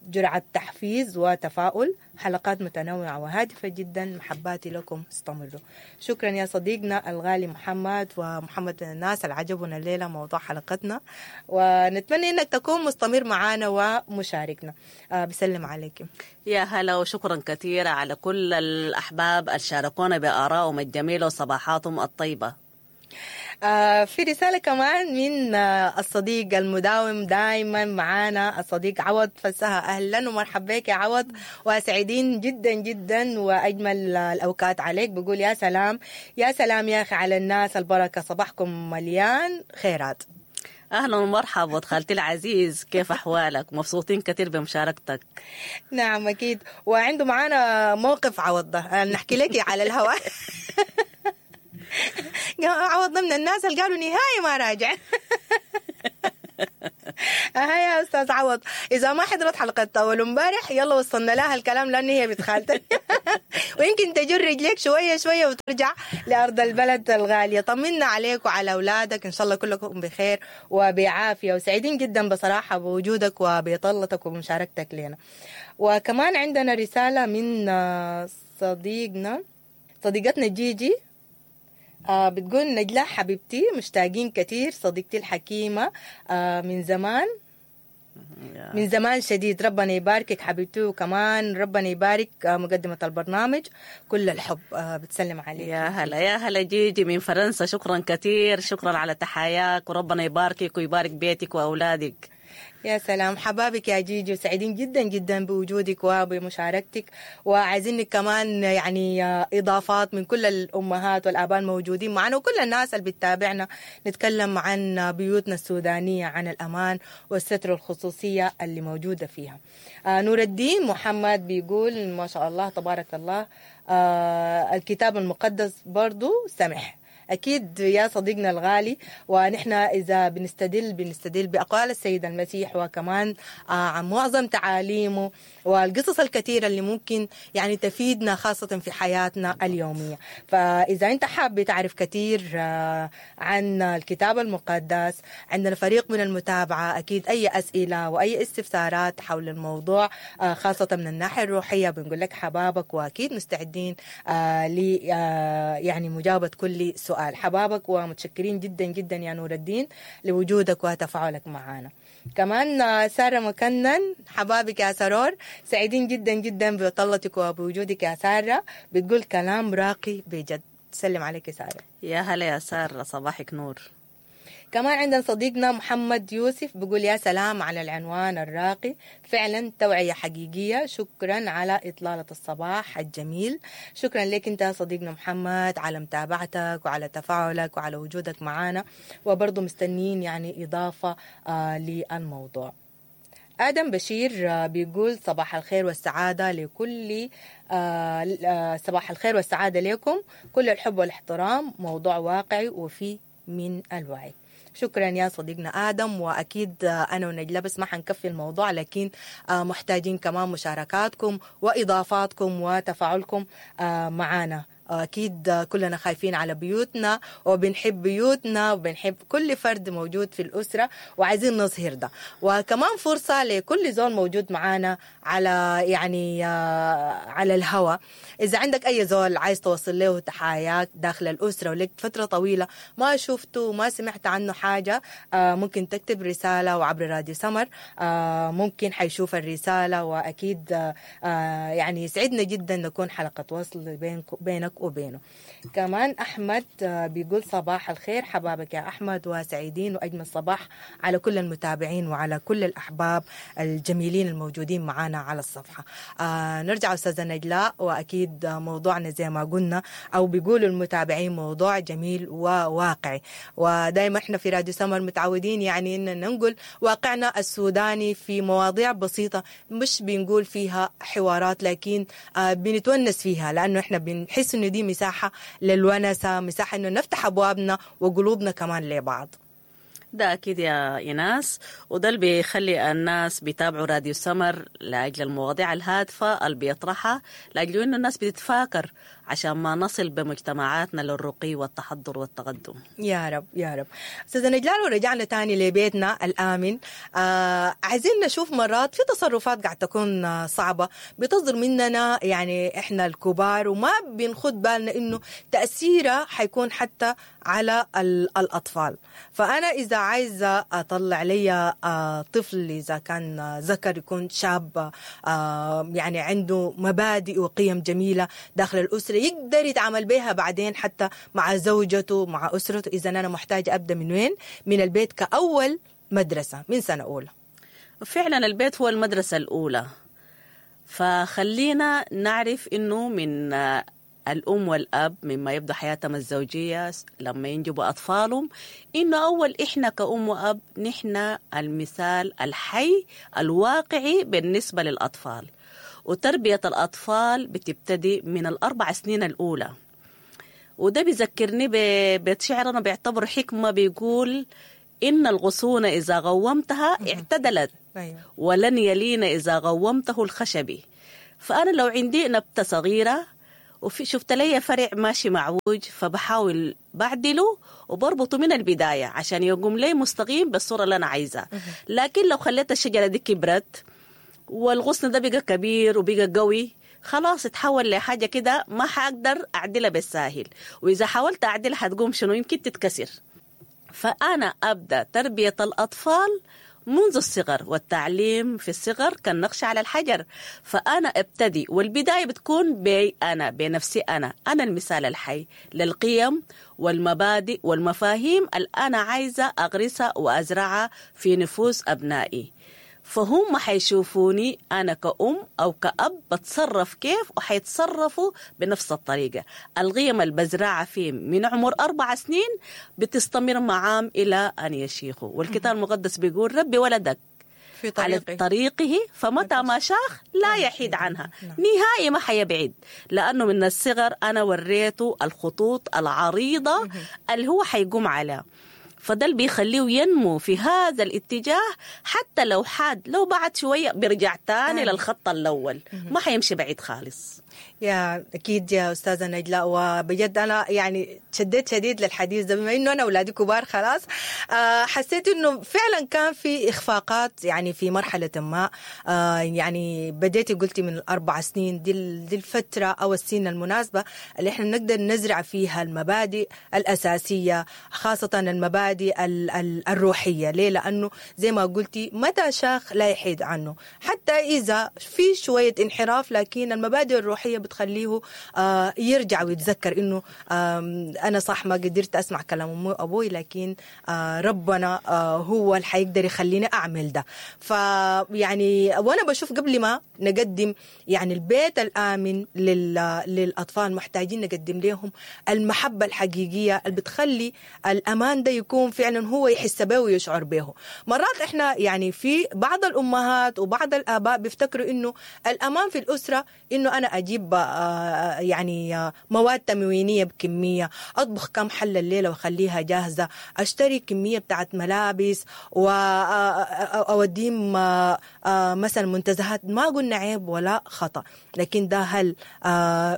جرعة تحفيز وتفاؤل، حلقات متنوعة وهادفة جدا، محباتي لكم استمروا. شكرا يا صديقنا الغالي محمد، ومحمد من الناس اللي عجبنا الليلة موضوع حلقتنا، ونتمنى انك تكون مستمر معنا ومشاركنا. بسلم عليكم. يا هلا، وشكرا كثيرا على كل الأحباب اللي شاركونا بآرائهم الجميلة وصباحاتهم الطيبة. في رسالة كمان من الصديق المداوم دائما معانا الصديق عوض فسها. أهلا ومرحبا بك يا عوض، وسعيدين جدا جدا وأجمل الأوقات عليك. بقول يا سلام يا سلام يا أخي على الناس البركة، صباحكم مليان خيرات. اهلا ومرحبا ود خالتي العزيز، كيف احوالك؟ مبسوطين كثير بمشاركتك. نعم اكيد، وعنده معانا موقف عوض ده نحكي لك على الهواء. عوضنا من الناس اللي قالوا نهائي ما راجع. ها يا استاذ عوض، اذا ما حضرت حلقة اول امبارح يلا وصلنا لها الكلام لان هي بنت خالتك. ويمكن تجر رجليك شوية شوية وترجع لارض البلد الغالية. طمنا عليك وعلى اولادك، ان شاء الله كلكم بخير وبعافيه، وسعيدين جدا بصراحة بوجودك وبطلتك وبمشاركتك لنا. وكمان عندنا رسالة من صديقنا صديقتنا جيجي، بتقول نجلاء حبيبتي مشتاقين كثير، صديقتي الحكيمة من زمان، من زمان شديد، ربنا يباركك حبيبتي، وكمان ربنا يبارك مقدمة البرنامج، كل الحب. بتسلم عليك. يا هلا يا هلا جيجي من فرنسا، شكرا كثير، شكرا على تحاياك، وربنا يباركك ويبارك بيتك وأولادك. يا سلام، حبابك يا جيجي، وسعيدين جدا جدا بوجودك وبمشاركتك، وعايزينك كمان يعني إضافات من كل الأمهات والآباء الموجودين معنا وكل الناس اللي بتتابعنا. نتكلم عن بيوتنا السودانية، عن الأمان والستر والخصوصية اللي موجودة فيها. نور الدين محمد بيقول ما شاء الله تبارك الله، الكتاب المقدس برضو سمح. أكيد يا صديقنا الغالي، ونحن إذا بنستدل بأقوال السيد المسيح، وكمان عن معظم تعاليمه والقصص الكثيرة اللي ممكن يعني تفيدنا خاصة في حياتنا اليومية. فإذا أنت حاب تعرف كثير عن الكتاب المقدس، عندنا فريق من المتابعة، أكيد أي أسئلة وأي استفسارات حول الموضوع خاصة من الناحية الروحية بنقول لك حبابك، وأكيد مستعدين ل يعني مجاوبة كل سؤال. حبابك، ومتشكرين جدا جدا يا نور الدين لوجودك وتفاعلك معنا. كمان سارة مكنن، حبابك يا سرور، سعيدين جدا جدا بطلتك وبوجودك يا سارة، بتقول كلام راقي بجد. سلم عليك يا سارة. يا هلا يا سارة، صباحك نور. كمان عندنا صديقنا محمد يوسف بيقول يا سلام على العنوان الراقي، فعلا توعية حقيقية، شكرا على إطلالة الصباح الجميل. شكرا لك أنت صديقنا محمد على متابعتك وعلى تفاعلك وعلى وجودك معنا، وبرضو مستنين يعني إضافة للموضوع. آدم بشير بيقول صباح الخير والسعادة لكل صباح الخير والسعادة لكم، كل الحب والاحترام، موضوع واقعي وفي من الوعي. شكرا يا صديقنا آدم، وأكيد أنا ونجلاء بس ما حنكفي الموضوع، لكن محتاجين كمان مشاركاتكم وإضافاتكم وتفاعلكم معنا. أكيد كلنا خايفين على بيوتنا وبنحب بيوتنا وبنحب كل فرد موجود في الأسرة، وعايزين نظهر ده. وكمان فرصة لكل زول موجود معانا على يعني على الهوا، إذا عندك أي زول عايز توصل له تحاياك داخل الأسرة ولك فترة طويلة ما شفته وما سمعت عنه حاجة، ممكن تكتب رسالة وعبر راديو سمر ممكن حيشوف الرسالة، وأكيد يعني يسعدنا جدا نكون حلقة وصل بينك وبينه. كمان أحمد بيقول صباح الخير، حبابك يا أحمد، وسعيدين وأجمل صباح على كل المتابعين وعلى كل الأحباب الجميلين الموجودين معنا على الصفحة. نرجع أستاذة نجلاء، وأكيد موضوعنا زي ما قلنا أو بيقولوا المتابعين موضوع جميل وواقعي، ودايما احنا في راديو سمر متعودين يعني إن ننقل واقعنا السوداني في مواضيع بسيطة، مش بنقول فيها حوارات، لكن بنتونس فيها، لأنه احنا بنحس إنه دي مساحة للونسة، مساحة إنه نفتح أبوابنا وقلوبنا كمان لبعض. ده أكيد يا إيناس، وده اللي بيخلي الناس بيتابعوا راديو سمر لأجل المواضيع الهادفة اللي بيطرحها، لأجل إنه الناس بتتفاكر عشان ما نصل بمجتمعاتنا للرقي والتحضر والتقدم. يا رب يا رب. أستاذة نجلاء، ورجعنا تاني لبيتنا الآمن. عايزين نشوف مرات في تصرفات قاعد تكون صعبة بتصدر مننا يعني إحنا الكبار، وما بنخد بالنا إنه تأثيرها حيكون حتى على الأطفال. فأنا إذا عايزة أطلع لي طفل إذا كان ذكر يكون شاب يعني عنده مبادئ وقيم جميلة داخل الأسرة يقدر يتعامل بها بعدين حتى مع زوجته مع أسرته، إذا أنا محتاجة أبدأ من وين؟ من البيت كأول مدرسة من سنة أولى. فعلا البيت هو المدرسة الأولى، فخلينا نعرف إنه من الأم والأب مما يبدأ حياتهم الزوجية لما ينجبوا أطفالهم، إنه أول إحنا كأم وأب نحن المثال الحي الواقعي بالنسبة للأطفال. وتربية الأطفال بتبتدي من ال4 سنين الأولى. وده بيذكرني ببيت شعر أنا بعتبره حكمة، بيقول إن الغصون إذا غومتها اعتدلت، ولن يلين إذا غومته الخشبي. فأنا لو عندي نبتة صغيرة وفي شفت لي فرع ماشي معوج، فبحاول بعدله وبربطه من البداية عشان يقوم لي مستقيم بالصورة اللي أنا عايزها. لكن لو خليت الشجرة دي كبرت والغصن ده بقى كبير وبقى قوي، خلاص اتحول لحاجة كده ما حقدر أعدلها بالساهل، وإذا حاولت أعدلها حتقوم شنو؟ يمكن تتكسر. فأنا أبدأ تربية الأطفال منذ الصغر، والتعليم في الصغر كالنقش على الحجر. فأنا ابتدي، والبداية بتكون بي أنا، بنفسي أنا، أنا المثال الحي للقيم والمبادئ والمفاهيم اللي أنا عايزة أغرسها وأزرعها في نفوس أبنائي. فهم حيشوفوني أنا كأم أو كأب بتصرف كيف، وحيتصرفوا بنفس الطريقة. القيم اللي بزرعها فيهم من عمر 4 سنين بتستمر معام إلى أن يشيخوا. والكتاب المقدس بيقول ربي ولدك في طريقه. على طريقه فمتى ما شاخ لا يحيد عنها. نهائي ما حيبعد، لأنه من الصغر أنا وريته الخطوط العريضة اللي هو حيقوم عليها. فده اللي بيخليه ينمو في هذا الاتجاه، حتى لو حاد، لو بعد شوية بيرجع تاني للخط الأول، ما حيمشي بعيد خالص. يا أكيد يا أستاذة نجلاء، وبجد أنا يعني شديت شديد للحديث ده، بما إنه أنا أولادي كبار خلاص. حسيت إنه فعلا كان في إخفاقات يعني في مرحلة ما. يعني بديتي قلتي من 4 سنين، دي الفترة أو السن المناسبة اللي إحنا نقدر نزرع فيها المبادئ الأساسية، خاصة المبادئ الروحية. ليه؟ لأنه زي ما قلتي متى شاخ لا يحيد عنه، حتى إذا في شوية انحراف، لكن المبادئ الروحية بتخليه يرجع ويتذكر إنه أنا صح ما قدرت أسمع كلام أمي وأبوي، لكن ربنا هو اللي حيقدر يخليني أعمل ده. فيعني وأنا بشوف قبل ما نقدم يعني البيت الآمن للأطفال، محتاجين نقدم لهم المحبة الحقيقية اللي بتخلي الأمان ده يكون فعلا هو يحس به ويشعر به. مرات إحنا يعني في بعض الأمهات وبعض الآباء بيفتكروا إنه الأمان في الأسرة إنه أنا أجيب يعني مواد تموينية بكمية، أطبخ كم حلة الليلة وأخليها جاهزة، أشتري كمية بتاعت ملابس وأوديهم مثلا منتزهات. ما قلنا عيب ولا خطأ، لكن ده هل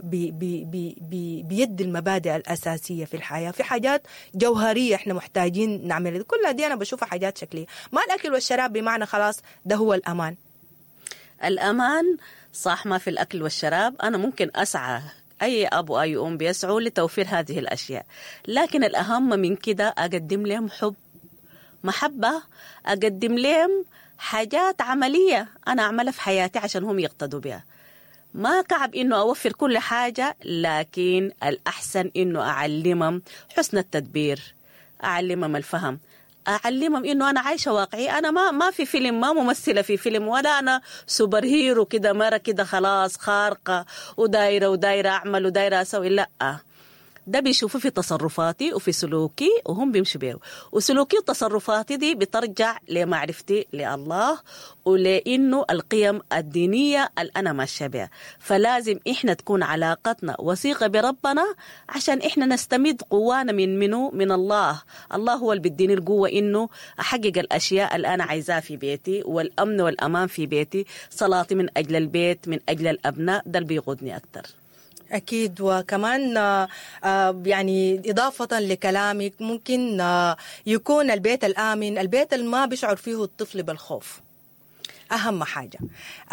بي بي بي بي بيدي المبادئ الأساسية في الحياة؟ في حاجات جوهرية إحنا محتاجين نعملها، كلها دي أنا بشوفها حاجات شكلية. ما الأكل والشراب بمعنى خلاص ده هو الأمان. الأمان صح ما في الأكل والشراب، أنا ممكن أسعى، أي أب وأي أم بيسعوا لتوفير هذه الأشياء، لكن الأهم من كده أقدم لهم حب، محبة، أقدم لهم حاجات عملية أنا أعملها في حياتي عشان هم يقتدوا بها. ما كعب إنه أوفر كل حاجة، لكن الأحسن إنه أعلمهم حسن التدبير، أعلمهم الفهم، أعلمهم إنه أنا عايشة واقعي، أنا ما في فيلم، ما ممثلة في فيلم، ولا أنا super hero كده مرة كده خلاص خارقة ودايرة ودايرة أعمل ودايرة أسوي. لا، ده بيشوفوا في تصرفاتي وفي سلوكي وهم بيمشوا بيه، وسلوكي وتصرفاتي دي بترجع لمعرفتي لله ولأنه القيم الدينية اللي أنا ماشية بها. فلازم إحنا تكون علاقتنا وثيقة بربنا عشان إحنا نستمد قوانا من منه، من الله. الله هو اللي بيديني القوة إنه أحقق الأشياء اللي أنا عايزاها في بيتي، والأمن والأمان في بيتي، صلاتي من أجل البيت، من أجل الأبناء، ده اللي بيقودني أكتر. أكيد. وكمان يعني إضافة لكلامك، ممكن يكون البيت الآمن البيت اللي ما بيشعر فيه الطفل بالخوف. أهم حاجة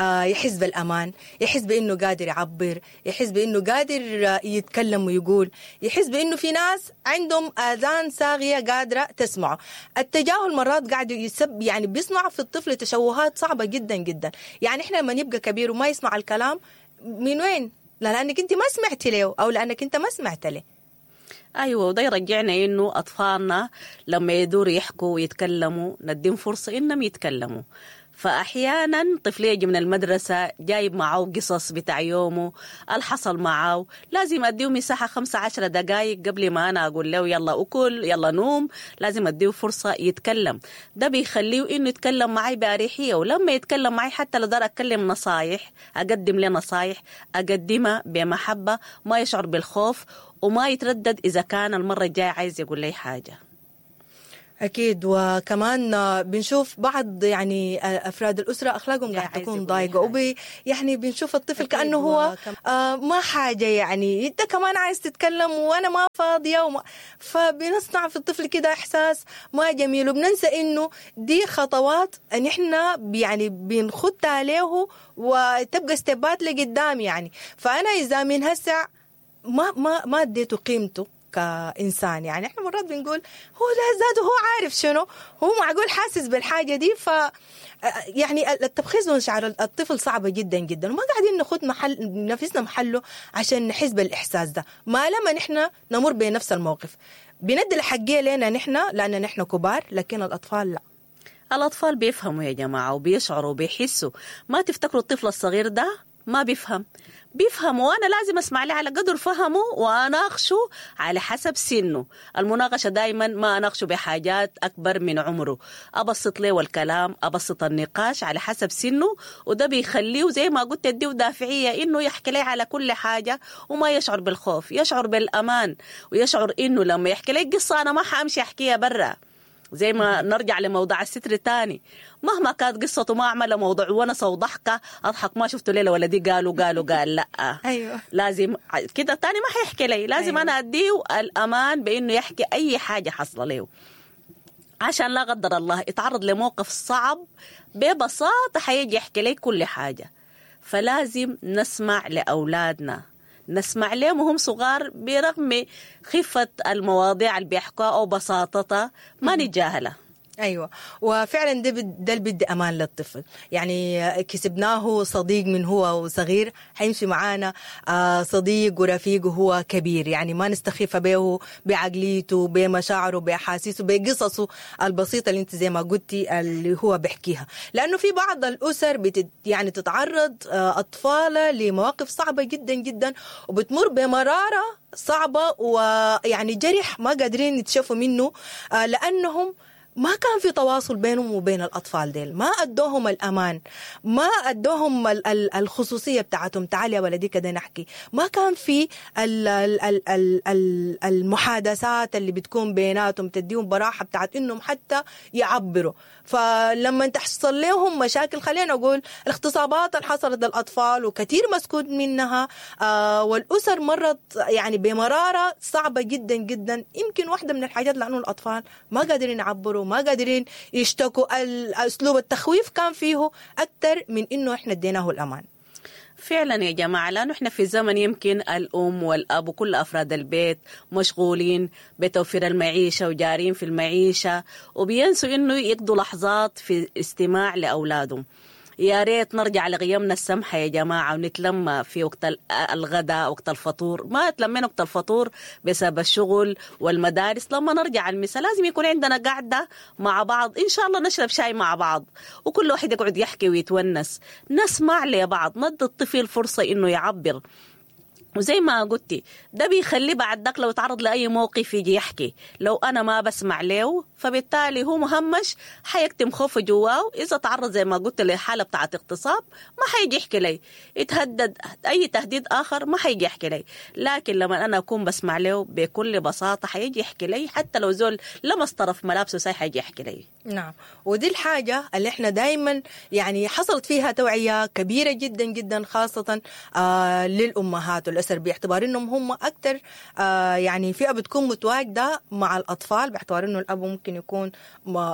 يحس بالأمان، يحس بأنه قادر يعبر، يحس بأنه قادر يتكلم ويقول، يحس بأنه في ناس عندهم آذان صاغية قادرة تسمعه. التجاهل مرات قاعد يسب يعني بيصنع في الطفل تشوهات صعبة جدا جدا. يعني إحنا لما نبقى كبير وما يسمع الكلام من وين؟ لا لأنك أنت ما سمعتي له، أو لأنك أنت ما سمعت له. أيوة، وده يرجعنا إنه أطفالنا لما يدوروا يحكوا ويتكلموا نديهم فرصة إنهم يتكلموا. فأحيانا طفل يجي من المدرسة جايب معه قصص بتاع يومه الحصل معه، لازم أديه مساحة 15 دقائق قبل ما أنا أقول له يلا أكل يلا نوم، لازم أديه فرصة يتكلم. ده بيخليه إنه يتكلم معي بأريحية، ولما يتكلم معي حتى لو دار أتكلم نصايح، أقدم له نصايح أقدمها بمحبة، ما يشعر بالخوف وما يتردد إذا كان المرة الجاية عايز يقول لي حاجة. أكيد. وكمان بنشوف بعض يعني أفراد الأسرة أخلاقهم قاعد تكون ضايقة، يعني بنشوف الطفل كأنه هو ما حاجة، يعني أنت كمان عايز تتكلم وأنا ما فاضية فبنصنع في الطفل كده إحساس ما جميل، وبننسى إنه دي خطوات إن إحنا يعني بنخدها عليه وتبقى ستيبات لقدام يعني. فأنا إذا من هسع ما اديته قيمته كإنسان، يعني احنا مرات بنقول هو لا ذاته هو عارف شنو، هو معقول حاسس بالحاجة دي. ف يعني التبخيس من شعر الطفل صعبة جدا جدا، وما قاعدين ناخد محل نفسنا محله عشان نحس بالإحساس ده. ما لما نحن نمر بنفس الموقف بندي الحقية لنا نحن لأن نحن كبار، لكن الأطفال لا. الأطفال بيفهموا يا جماعة وبيشعروا وبيحسوا. ما تفتكروا الطفل الصغير ده ما بيفهم، بيفهم، وأنا لازم أسمع له على قدر فهمه وأناقشه على حسب سنه. المناقشة دايما ما أناقشه بحاجات أكبر من عمره، أبسط له الكلام، أبسط النقاش على حسب سنه، وده بيخليه زي ما قلت اديه دافعية إنه يحكي لي على كل حاجة وما يشعر بالخوف، يشعر بالأمان، ويشعر إنه لما يحكي لي قصة أنا ما حأمشي أحكيها برا. زي ما نرجع لموضوع الستر تاني، مهما كانت قصته ما أعمل موضوع ونسة وضحكة أضحك، ما شفته ليلة ولدي قالوا قال لا. أيوة. لازم كده تاني ما حيحكي لي، لازم أيوة. أنا أديه الأمان بإنه يحكي أي حاجة حصل له، عشان لا قدر الله يتعرض لموقف صعب ببساطة حيجي يحكي لي كل حاجة. فلازم نسمع لأولادنا، نسمع لهم وهم صغار برغم خفة المواضيع اللي بيحكوها أو بساطتها، ما نتجاهلها. أيوة، وفعلا ده اللي بدي أمان للطفل، يعني كسبناه صديق من هو صغير حيمشي معانا صديق ورفيق وهو كبير، يعني ما نستخف به بعقليته بمشاعره بأحاسيسه بقصصه البسيطة اللي انت زي ما قلتي اللي هو بيحكيها. لأنه في بعض الأسر يعني تتعرض أطفالها لمواقف صعبة جدا جدا، وبتمر بمرارة صعبة ويعني جرح ما قادرين يتشافوا منه، لأنهم ما كان في تواصل بينهم وبين الأطفال ديل، ما أدوهم الأمان، ما أدوهم الخصوصية بتاعتهم، تعال يا ولدي كده نحكي، ما كان في المحادثات اللي بتكون بيناتهم تديهم براحة بتاعت إنهم حتى يعبروا. فلما تحصل لهم مشاكل، خلينا نقول الاغتصابات اللي حصلت للأطفال وكثير مسكوت منها، والأسر مرت يعني بمرارة صعبة جدا جدا. يمكن واحدة من الحاجات لأنه الأطفال ما قادرين يعبروا، ما قادرين يشتكوا، أسلوب التخويف كان فيه أكثر من إنه إحنا اديناه الأمان. فعلا يا جماعة، لأنه إحنا في زمن يمكن الأم والأب وكل أفراد البيت مشغولين بتوفير المعيشة وجارين في المعيشة، وبينسوا إنه يقضوا لحظات في استماع لأولادهم. يا ريت نرجع لقيمنا السمحة يا جماعة، ونتلم في وقت الغداء، وقت الفطور. ما تلمينا وقت الفطور بسبب الشغل والمدارس. لما نرجع المساء لازم يكون عندنا قعدة مع بعض، إن شاء الله نشرب شاي مع بعض، وكل واحد يقعد يحكي ويتونس، نسمع لبعض، ندي الطفل فرصة إنه يعبر. وزي ما قلتي ده بيخليه بعد ذاك لو تعرض لأي موقف يجي يحكي. لو أنا ما بسمع له فبالتالي هو مهمش، حيكتم خوفه جواه. إذا تعرض زي ما قلت لحالة بتاعت اغتصاب ما حيجي يحكي لي، يتهدد أي تهديد آخر ما حيجي يحكي لي. لكن لما أنا أكون بسمع له بكل بساطة حيجي يحكي لي، حتى لو زول لمس طرف ملابسه ساي حيجي يحكي لي. نعم، ودي الحاجة اللي احنا دايما يعني حصلت فيها توعية كبيرة جدا جدا، خاصة للأمهات والأسر، باعتبار انهم هم أكثر يعني فئة بتكون متواجدة مع الأطفال، باعتبار انه الأب ممكن يكون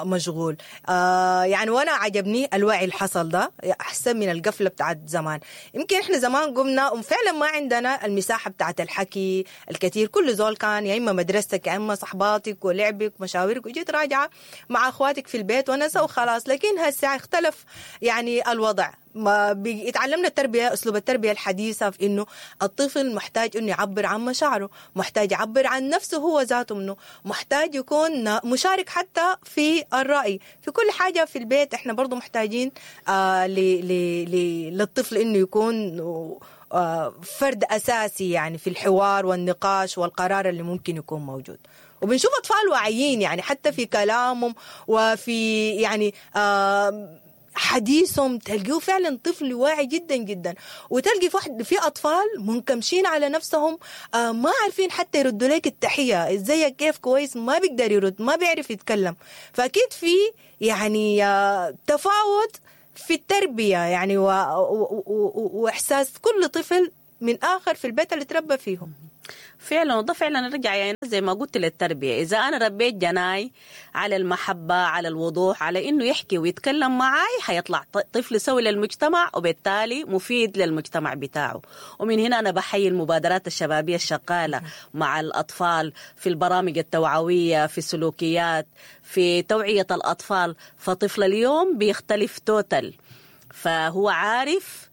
مشغول. يعني وانا عجبني الوعي اللي حصل ده أحسن من القفلة بتاعت زمان. يمكن احنا زمان قمنا وفعلا ما عندنا المساحة بتاعت الحكي الكثير، كل زول كان يا إما مدرستك يا إما صحباتك ولعبك ومشاورك، وجيت راجعة مع أخواتك في البيت ونسى وخلاص. لكن هسه اختلف يعني الوضع، ما اتعلمنا التربية، اسلوب التربية الحديثة، في انه الطفل محتاج انه يعبر عن مشاعره، محتاج يعبر عن نفسه هو ذاته منه، محتاج يكون مشارك حتى في الراي في كل حاجة في البيت. احنا برضو محتاجين للطفل انه يكون فرد اساسي يعني في الحوار والنقاش والقرار اللي ممكن يكون موجود. وبنشوف اطفال واعيين يعني حتى في كلامهم وفي يعني حديثهم، تلقيه فعلا طفل واعي جدا جدا. وتلقي في اطفال منكمشين على نفسهم، ما عارفين حتى يردوا لك التحية، ازيك كيف كويس، ما بيقدر يرد، ما بيعرف يتكلم. فاكيد في يعني تفاوت في التربية يعني واحساس كل طفل من اخر في البيت اللي تربى فيهم. فعلا، وده فعلا نرجع يعني زي ما قلت للتربية. إذا أنا ربيت جناي على المحبة، على الوضوح، على إنه يحكي ويتكلم معاي، حيطلع طفل سوي للمجتمع وبالتالي مفيد للمجتمع بتاعه. ومن هنا أنا بحيي المبادرات الشبابية الشغالة مع الأطفال في البرامج التوعوية، في السلوكيات، في توعية الأطفال. فطفل اليوم بيختلف total، فهو عارف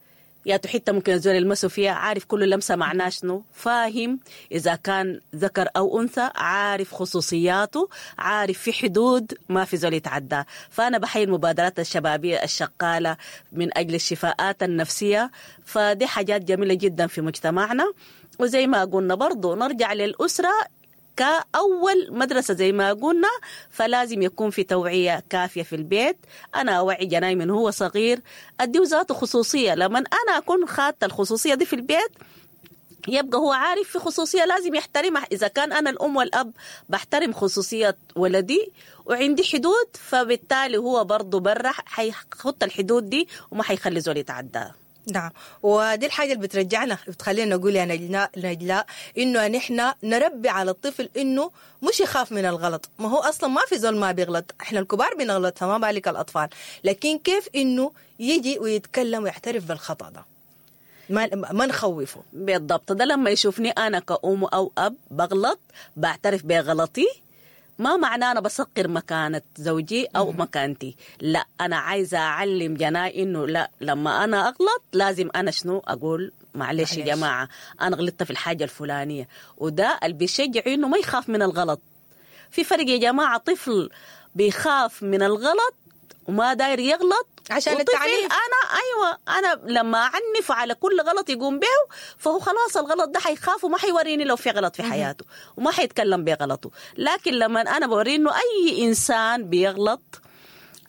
يا حتة ممكن الزول يلمسه فيها، عارف كل لمسة معناه شنو، فاهم إذا كان ذكر أو أنثى، عارف خصوصياته، عارف في حدود ما في زول يتعدى. فأنا بحيي المبادرات الشبابية الشغالة من أجل الشفاءات النفسية، فدي حاجات جميلة جدا في مجتمعنا. وزي ما قلنا برضو نرجع للأسرة كأول مدرسة زي ما قلنا، فلازم يكون في توعية كافية في البيت. أنا أوعي جناي من هو صغير، أديه ذاته خصوصية. لما أنا أكون خدت الخصوصية دي في البيت يبقى هو عارف في خصوصية لازم يحترمها. إذا كان أنا الأم والأب بحترم خصوصية ولدي وعندي حدود، فبالتالي هو برضو برا حيخط الحدود دي وما حيخلي زول يتعداها. نعم، ودي الحاجة اللي بترجعنا بتخلينا نقول يا نجلاء إنه نحن نربي على الطفل إنه مش يخاف من الغلط. ما هو أصلا ما في زول ما بيغلط، إحنا الكبار بنغلط فما بالك الأطفال. لكن كيف إنه يجي ويتكلم ويعترف بالخطأ ده، ما نخوفه. بالضبط، ده لما يشوفني أنا كأم أو أب بغلط بعترف بغلطي، ما معناه أنا بسقر مكانة زوجي أو مكانتي، لا، أنا عايزة أعلم جناي إنه لا، لما أنا أغلط لازم أنا شنو أقول، معلش يا جماعة أنا غلطت في الحاجة الفلانية. وده اللي بيشجع إنه ما يخاف من الغلط. في فرق يا جماعة، طفل بيخاف من الغلط وما داير يغلط عشان التعنيف. أنا أيوة، أنا لما أعنف على كل غلط يقوم به فهو خلاص الغلط ده حيخاف وما حيوريني لو في غلط في حياته وما حيتكلم بغلطه. لكن لما أنا بوريه إنه أي إنسان بيغلط،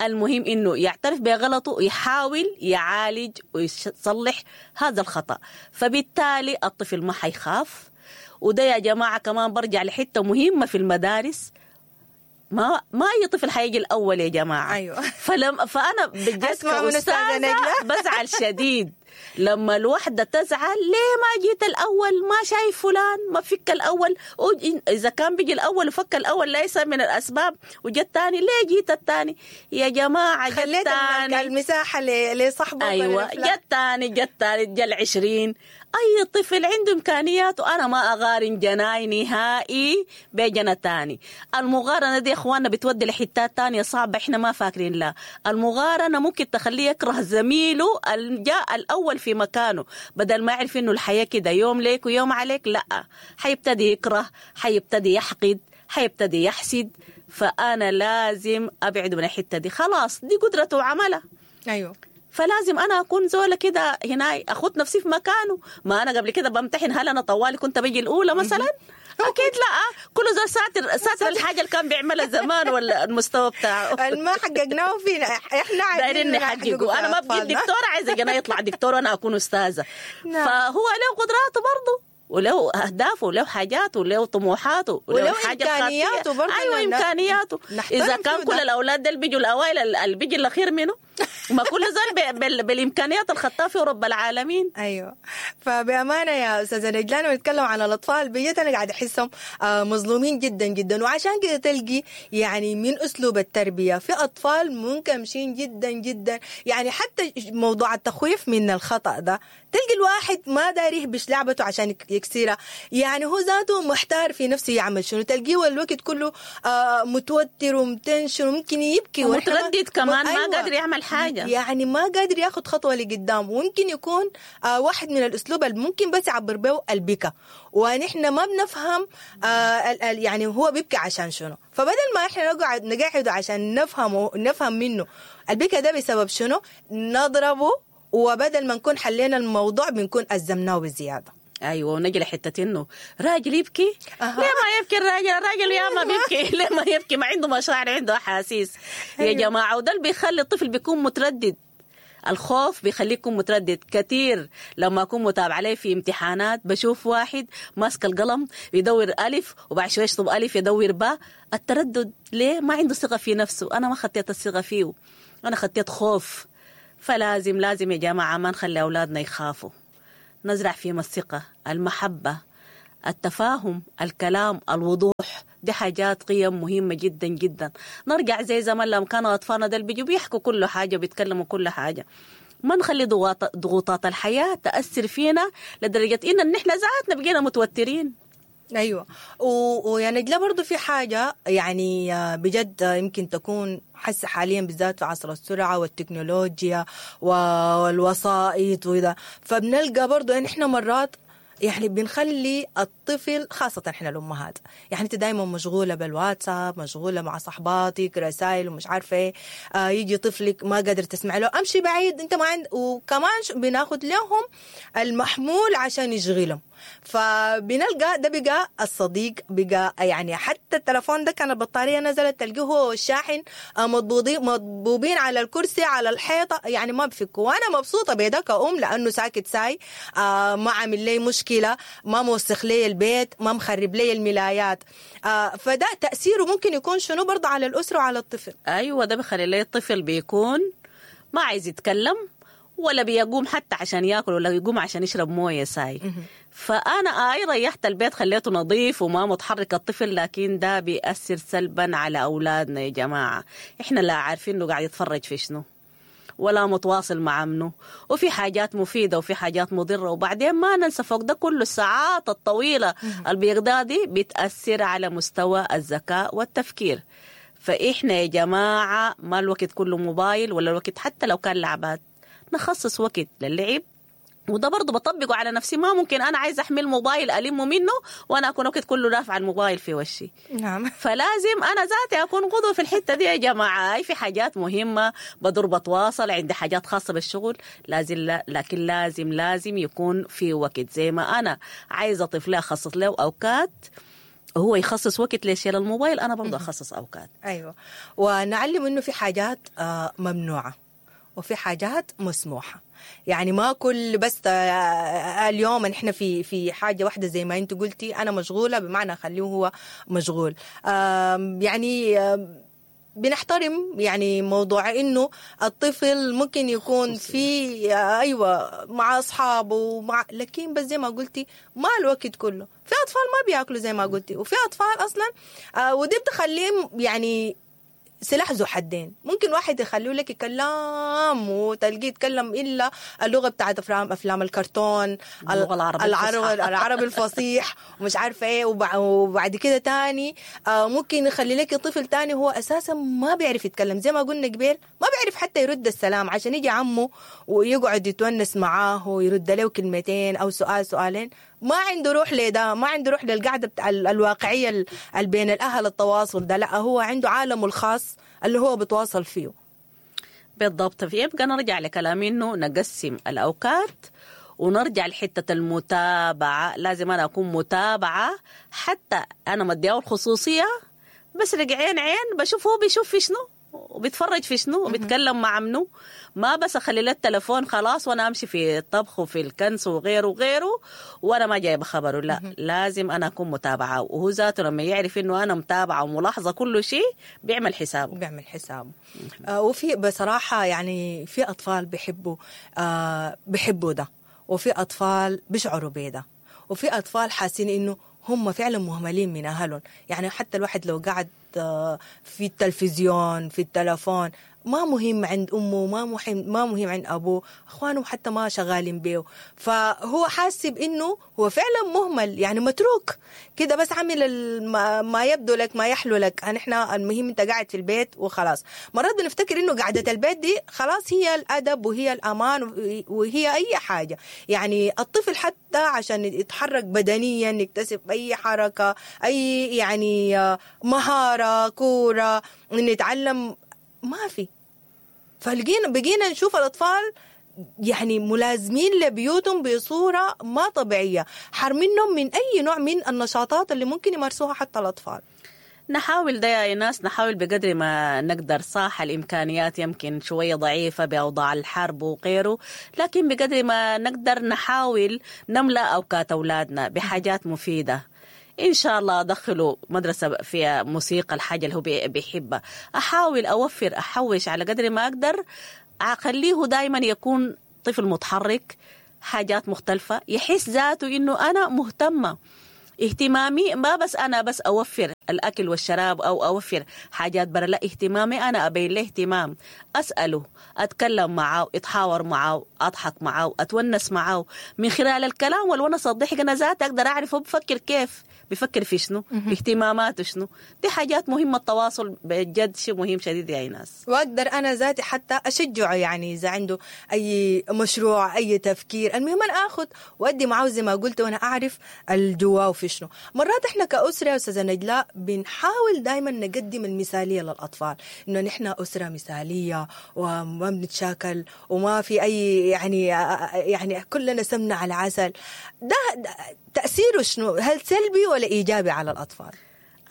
المهم إنه يعترف بغلطه ويحاول يعالج ويصلح هذا الخطأ، فبالتالي الطفل ما حيخاف. وده يا جماعة كمان برجع لحتة مهمة في المدارس، ما اي طفل حيجي الاول يا جماعة. ايوه. فانا بجد كأستاذة بزعل شديد لما الوحدة تزعل، ليه ما جيت الاول، ما شايف فلان ما فك الاول، اذا كان بيجي الاول وفك الاول ليس من الاسباب، وجا الثاني ليه جيت الثاني يا جماعة، خليت المساحة لصاحبه. ايوه، جا الثاني، جا الثالث، جا 20. اي طفل عنده امكانيات، وانا ما اقارن جناي نهائي بجنة تاني. المقارنة دي يا اخواننا بتودي لحتات تانية صعبة احنا ما فاكرين لها. المقارنة ممكن تخليه يكره زميله جاء الاول في مكانه، بدل ما يعرف انه الحياة كده يوم ليك ويوم عليك، لا، حيبتدي يكره، حيبتدي يحقد، حيبتدي يحسد. فانا لازم ابعد من الحتة دي، خلاص دي قدرته وعملها. ايوه، فلازم انا اكون زوله كده هنا، اخد نفسي في مكانه. ما انا قبل كده بمتحن، هل انا طوالي كنت بيجي الاولى مثلا؟ اكيد لا، كل زول ساتر الحاجة اللي كان بيعملها زمان ولا المستوى بتاعه ما حققناه فينا احنا، دايرين نحققه. انا ما بقيت دكتورة، عايزه انا يطلع دكتور وانا اكون استاذه. فهو له قدراته برضه، وله اهدافه، وله حاجاته، وله طموحاته، وله امكانياته برضه. ايوه، امكانياته. اذا كان كل الاولاد دول بيجوا الاوائل، اللي بيجي الاخير منه، ما كل زول بالامكانيات الخطاه في رب العالمين. ايوه، فبامانه يا استاذه نجلاء لما نتكلم عن الاطفال بجد انا قاعدة احسهم مظلومين جدا جدا. وعشان كده تلقي يعني من اسلوب التربية في اطفال منكمشين جدا جدا، يعني حتى موضوع التخويف من الخطا ده تلقي الواحد ما داري يهبش لعبته عشان يكسرها. يعني هو ذاته محتار في نفسه يعمل شنو، تلقيه الوقت كله متوتر ومتنشن وممكن يبكي ومتردد كمان. أيوة. ما قادر يعمل حاجة، يعني ما قادر ياخد خطوة لقدام. وممكن يكون واحد من الأسلوب اللي ممكن بس يعبر به البكا، ونحن ما بنفهم يعني هو بيبكي عشان شنو. فبدل ما احنا نقعد عشان نفهم منه البكا ده بسبب شنو، نضربه، وبدل ما نكون حلينا الموضوع بنكون أزمناه بزيادة. ايوه، ونجي لحته انه راجل يبكي. ليه ما يبكي الراجل؟ الراجل يا ما بيبكي. ليه ما يبكي؟ ما عنده مشاعر، عنده احاسيس. يا جماعة. وده اللي بيخلي الطفل بيكون متردد. الخوف بيخليكم متردد كثير. لما أكون متابعة لي في امتحانات بشوف واحد ماسك القلم يدور ألف وبعد شوي يشطب ألف يدور باء. التردد ليه؟ ما عنده ثقة في نفسه. أنا ما خطيت الثقة فيه، أنا خطيت خوف. فلازم لازم يا جماعة ما نخلي أولادنا يخافوا، نزرع فيهم الثقة، المحبة، التفاهم، الكلام، الوضوح. دي حاجات قيم مهمة جدا جدا. نرجع زي زمان لما كانوا أطفالنا دول بيجوا بيحكوا كل حاجة وبيتكلموا كل حاجة. ما نخلي ضغوطات الحياة تأثر فينا لدرجة إن نحن ذاتنا بقينا متوترين. أيوة. ويا نجلة برضو في حاجة يعني بجد يمكن تكون حس حاليا بالذات في عصر السرعة والتكنولوجيا والوسائط وإذا، فبنلقى برضو إن إحنا مرات يعني بنخلي الطفل، خاصة احنا الأمهات، يعني انت دايما مشغولة بالواتساب، مشغولة مع صحباتك، رسائل ومش عارفة ايه، يجي طفلك ما قادر تسمع له، امشي بعيد انت ما عند، وكمان بناخد لهم المحمول عشان يشغلهم. فبنلقى ده بقى الصديق، بقى يعني حتى التلفون ده كان البطارية نزلت تلقيه هو والشاحن مضبوبين على الكرسي على الحيطة، يعني ما بفكوا. وأنا مبسوطة بده كأم لأنه ساكت ساي، ما عامل لي مشكلة، ما موسخ لي البيت، ما مخرب لي الملايات. فده تأثيره ممكن يكون شنو برضه على الأسرة وعلى الطفل. أيوة، ده بخلي لي الطفل بيكون ما عايز يتكلم ولا بيقوم حتى عشان ياكل ولا يقوم عشان يشرب مويه ساي. فأنا آي ريحت البيت، خليته نظيف وما متحرك الطفل، لكن ده بيأثر سلبا على أولادنا يا جماعة. إحنا لا عارفين إنه قاعد يتفرج في شنو ولا متواصل مع منه، وفي حاجات مفيدة وفي حاجات مضرة. وبعدين ما ننسى فوق ده كل الساعات الطويلة البيقضيها دي بتأثر على مستوى الذكاء والتفكير. فإحنا يا جماعة ما الوقت كله موبايل ولا الوقت حتى لو كان لعبات، نخصص وقت للعب. وده برضه بطبقه على نفسي، ما ممكن أنا عايز أحمل موبايل ألمه منه وأنا أكون وقت كله رافع الموبايل في وشي. نعم. فلازم أنا ذاتي أكون قدوة في الحتة دي يا جماعة. في حاجات مهمة بدور بتواصل، عندي حاجات خاصة بالشغل لازم، لكن لازم يكون في وقت. زي ما أنا عايزة طفلة أخصص له أوقات، هو يخصص وقت ليشيل الموبايل، أنا برضه أخصص أوقات. أيوة. ونعلم إنه في حاجات ممنوعة وفي حاجات مسموحة. يعني ما كل بس اليوم نحن في حاجة واحدة زي ما انت قلتي، أنا مشغولة بمعنى أخليه هو مشغول. يعني بنحترم يعني موضوع إنه الطفل ممكن يكون في أيوة مع أصحابه مع، لكن بس زي ما قلتي ما الوقت كله. في أطفال ما بيأكلوا زي ما قلتي، وفي أطفال أصلا ودي بتخليهم يعني سلاح ذو حدين. ممكن واحد يخليه لك كلام وتلقيه يتكلم إلا اللغة بتاعت أفلام الكرتون، العربي الفصيح ومش عارفة إيه، وبعد كده تاني ممكن يخلي لك طفل تاني هو أساسا ما بيعرف يتكلم زي ما قلنا قبل، ما بيعرف حتى يرد السلام، عشان يجي عمه ويقعد يتونس معاه ويرد له كلمتين أو سؤال سؤالين. ما عنده روح لده، ما عنده روح للقعدة بتاع الواقعية بين الأهل، التواصل ده لا، هو عنده عالمه الخاص اللي هو بتواصل فيه. بالضبط. يبقى نرجع لكلامي إنه نقسم الأوقات ونرجع لحتة المتابعة. لازم أنا أكون متابعة، حتى أنا مدياه الخصوصية، بس رجعين عين بشوف هو بيشوف في شنو وبيتفرج في شنو وبيتكلم مع منو. ما بس اخلي له التلفون خلاص وانا امشي في الطبخ وفي الكنس وغيره وغيره وانا ما جايبه خبره. لا، لازم انا اكون متابعه، وهو ذاته لما يعرف انه انا متابعه وملاحظة كل شيء بيعمل حسابه. بيعمل حسابه. وفي بصراحة يعني في اطفال بيحبوا بيحبوا ده، وفي اطفال بيشعروا بده، وفي اطفال حاسين انه هم فعلا مهملين من اهلهم. يعني حتى الواحد لو قعد في التلفزيون في التلفون ما مهم عند امه، ما مهم عند ابوه، اخوانه حتى ما شغالين بيه، فهو حاسب انه هو فعلا مهمل، يعني متروك كده، بس عامل ما يبدو لك ما يحلو لك، نحن المهم انت قاعد في البيت وخلاص. مرات بنفتكر انه قعدة البيت دي خلاص هي الادب وهي الامان وهي اي حاجة، يعني الطفل حتى عشان يتحرك بدنيا، يكتسب اي حركة، اي يعني مهارة، كورة، انه يتعلم، ما في. فلقينا بقينا نشوف الأطفال يعني ملازمين لبيوتهم بصورة ما طبيعية، حرمينهم من أي نوع من النشاطات اللي ممكن يمارسوها حتى الأطفال. نحاول ده يا إيناس، نحاول بقدر ما نقدر. صح الإمكانيات يمكن شوية ضعيفة بأوضاع الحرب وغيره، لكن بقدر ما نقدر نحاول نملأ أوقات أولادنا بحاجات مفيدة. إن شاء الله أدخله مدرسة فيها موسيقى، الحاجة اللي هو بيحبها، أحاول أوفر، أحوش على قدر ما أقدر، أخليه دايما يكون طفل متحرك، حاجات مختلفة، يحس ذاته إنه أنا مهتمة، اهتمامي ما بس أنا بس أوفر الأكل والشراب أو أوفر حاجات برا، لا، اهتمامي أنا أبين له اهتمام، أسأله، أتكلم معه، أتحاور معه، أضحك معه، أتونس معه، من خلال الكلام والونس والضحك أنا ذاتي أقدر أعرف هو بفكر كيف، بفكر في شنو، اهتماماته شنو. دي حاجات مهمة، التواصل بجد شيء مهم شديد يا إيناس. وأقدر أنا ذاتي حتى أشجعه، يعني إذا عنده أي مشروع، أي تفكير، المهم أنا آخذ وأدي معه زي ما قلت، وأنا أعرف الجواه وفي شنو. مرات إحنا كأسرة يا أستاذة نجلاء بنحاول دايما نقدم المثالية للأطفال، إنه نحن أسرة مثالية وما بنتشاكل وما في أي يعني كلنا سمنة على عسل. ده تأثيره شنو؟ هل سلبي ولا إيجابي على الأطفال؟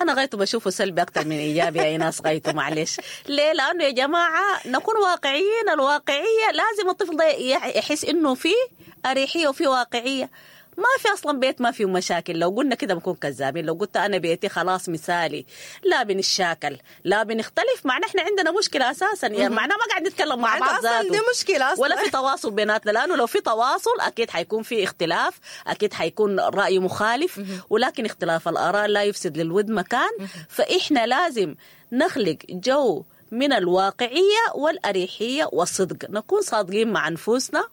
أنا غايته بشوفه سلبي أكتر من إيجابي يا إيناس، غايته معلش. ليه؟ لأنه يا جماعة نكون واقعيين، الواقعية لازم الطفل ده يحس إنه فيه أريحية وفيه واقعية. ما في أصلا بيت ما فيه مشاكل، لو قلنا كده بنكون كذابين. لو قلت أنا بيتي خلاص مثالي، لا بنشاكل لا بنختلف، معناه إحنا عندنا مشكلة أساسا، يعني معناه ما قاعد نتكلم مع بعض ذاته، دي مشكلة أصلا، ولا في تواصل بيناتنا، لأنه لو في تواصل أكيد حيكون في اختلاف، أكيد حيكون رأي مخالف، ولكن اختلاف الآراء لا يفسد للود مكان. فإحنا لازم نخلق جو من الواقعية والأريحية والصدق، نكون صادقين مع أنفسنا.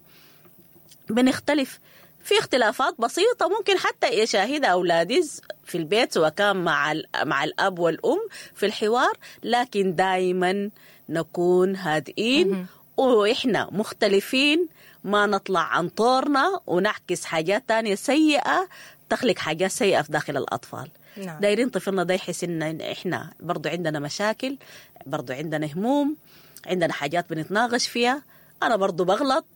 بنختلف في اختلافات بسيطة ممكن حتى يشاهدها أولادي في البيت، سواء كان مع الأب والأم في الحوار، لكن دايما نكون هادئين وإحنا مختلفين، ما نطلع عن طورنا ونعكس حاجات تانية سيئة تخلق حاجات سيئة في داخل الأطفال. نعم. دايرين طفلنا ده يحس إن إحنا برضو عندنا مشاكل، برضو عندنا هموم، عندنا حاجات بنتناقش فيها، أنا برضو بغلط،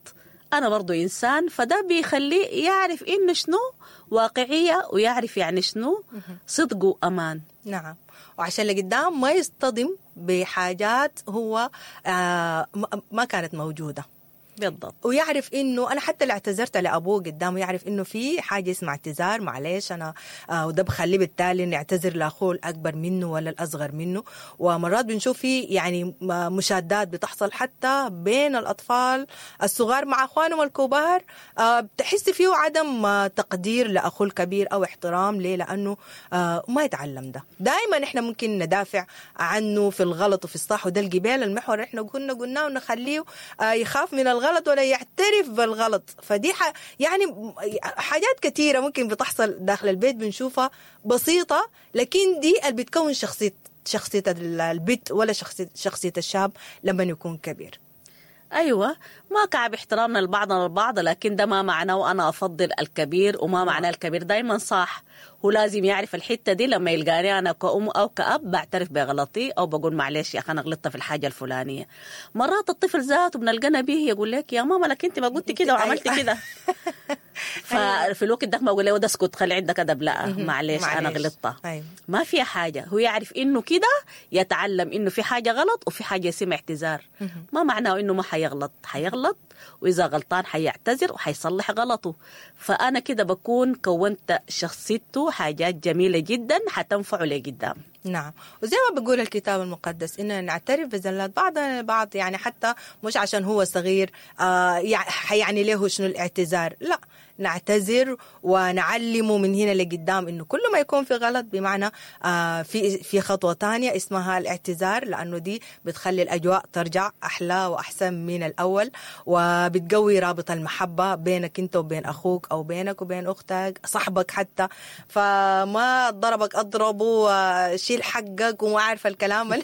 أنا برضو إنسان. فده بيخليه يعرف إنه شنو واقعية، ويعرف يعني شنو صدق وأمان. نعم، وعشان لقدام ما يصطدم بحاجات هو ما كانت موجودة. بالضبط. ويعرف إنه أنا حتى اللي اعتذرت لأبوه قدامه يعرف إنه في حاجة اسمها اعتذار، معلش أنا وده بخليه بالتالي إنه يعتذر لأخوه الأكبر منه ولا الأصغر منه. ومرات بنشوف في يعني مشادات بتحصل حتى بين الأطفال الصغار مع أخوانهم الكبار، بتحس فيه عدم تقدير لأخوه الكبير أو احترام ليه، لأنه ما يتعلم ده. دائما إحنا ممكن ندافع عنه في الغلط وفي الصح، وده الجبال المحور إحنا قلناه ونخليه يخاف من الغلط ولا يعترف بالغلط. فدي يعني حاجات كثيرة ممكن بتحصل داخل البيت بنشوفها بسيطة، لكن دي اللي بتكون شخصية البيت ولا شخصية الشاب لما يكون كبير. أيوة، ما كعب احترامنا لبعضنا البعض، لكن ده ما معناه وأنا أفضل الكبير، وما معناه الكبير دايما صح. هو لازم يعرف الحتة دي، لما يلقاني أنا كأم أو كأب بعترف بغلطي أو بقول معلش يا أخي أنا غلطت في الحاجة الفلانية. مرات الطفل ذاته بنلقانا به يقول لك يا ماما لك أنت ما قلت كده وعملت كده. ففي الوقت ده ما أقول له اسكت خلي عندك أدب، لا معلش أنا غلطت. ما فيها حاجة، هو يعرف إنه كده، يتعلم إنه في حاجة غلط وفي حاجة اسمها اعتذار. ما معناه إنه ما حيغلط، حيغلط، وإذا غلطان حيعتذر وحيصلح غلطه. فأنا كده بكون كونت شخصيته حاجات جميلة جدا حتنفعه لقدام. نعم، وزي ما بيقول الكتاب المقدس إننا نعترف بزلات بعضنا البعض، يعني حتى مش عشان هو صغير يعني له شنو الاعتذار، لا، نعتذر ونعلمه من هنا لقدام انه كل ما يكون في غلط بمعنى في خطوة تانية اسمها الاعتذار، لانه دي بتخلي الاجواء ترجع احلى واحسن من الاول، وبتقوي رابط المحبة بينك انت وبين اخوك او بينك وبين اختك، صاحبك حتى. فما ضربك اضربه وشيل حقك وما عارفه الكلام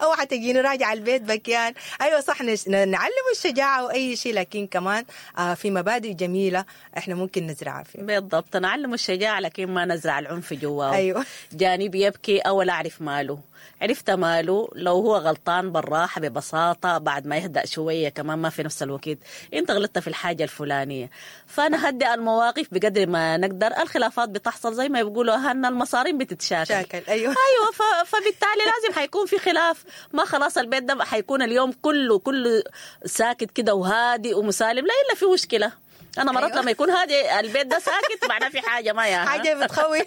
اوعى تجيني راجع البيت بكيان. ايوه صح، نعلمه الشجاعة واي شيء، لكن كمان في مبادئ جميلة احنا ممكن نزرعها فيه. بالضبط، نعلمه الشجاعة لكن ما نزرع العنف جواه. ايوه، جاني بيبكي اول اعرف ماله، عرفت ماله، لو هو غلطان بالراحة ببساطة بعد ما يهدأ شوية، كمان ما في نفس الوقت انت غلطت في الحاجة الفلانية. فنهدئ المواقف بقدر ما نقدر. الخلافات بتحصل زي ما بيقولوا اهلنا، المصارين بتتشاكل. شاكل. ايوه ايوه، فبالتالي لازم حيكون في خلاف. ما خلاص البيت ده حيكون اليوم كله كله ساكت كده وهادي ومسالم، لا الا في مشكلة. انا مرات أيوة. لما يكون هادي البيت ده ساكت معناه في حاجة ما ياها. حاجة بتخوف.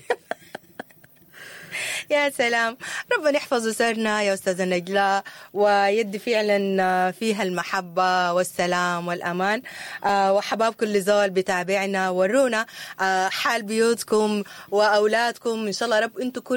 يا سلام، ربنا يحفظ أسرنا يا أستاذة نجلاء، ويدي فعلا فيها المحبة والسلام والأمان. وحباب كل زول بتابعنا، ورونا حال بيوتكم وأولادكم إن شاء الله رب أنتم كل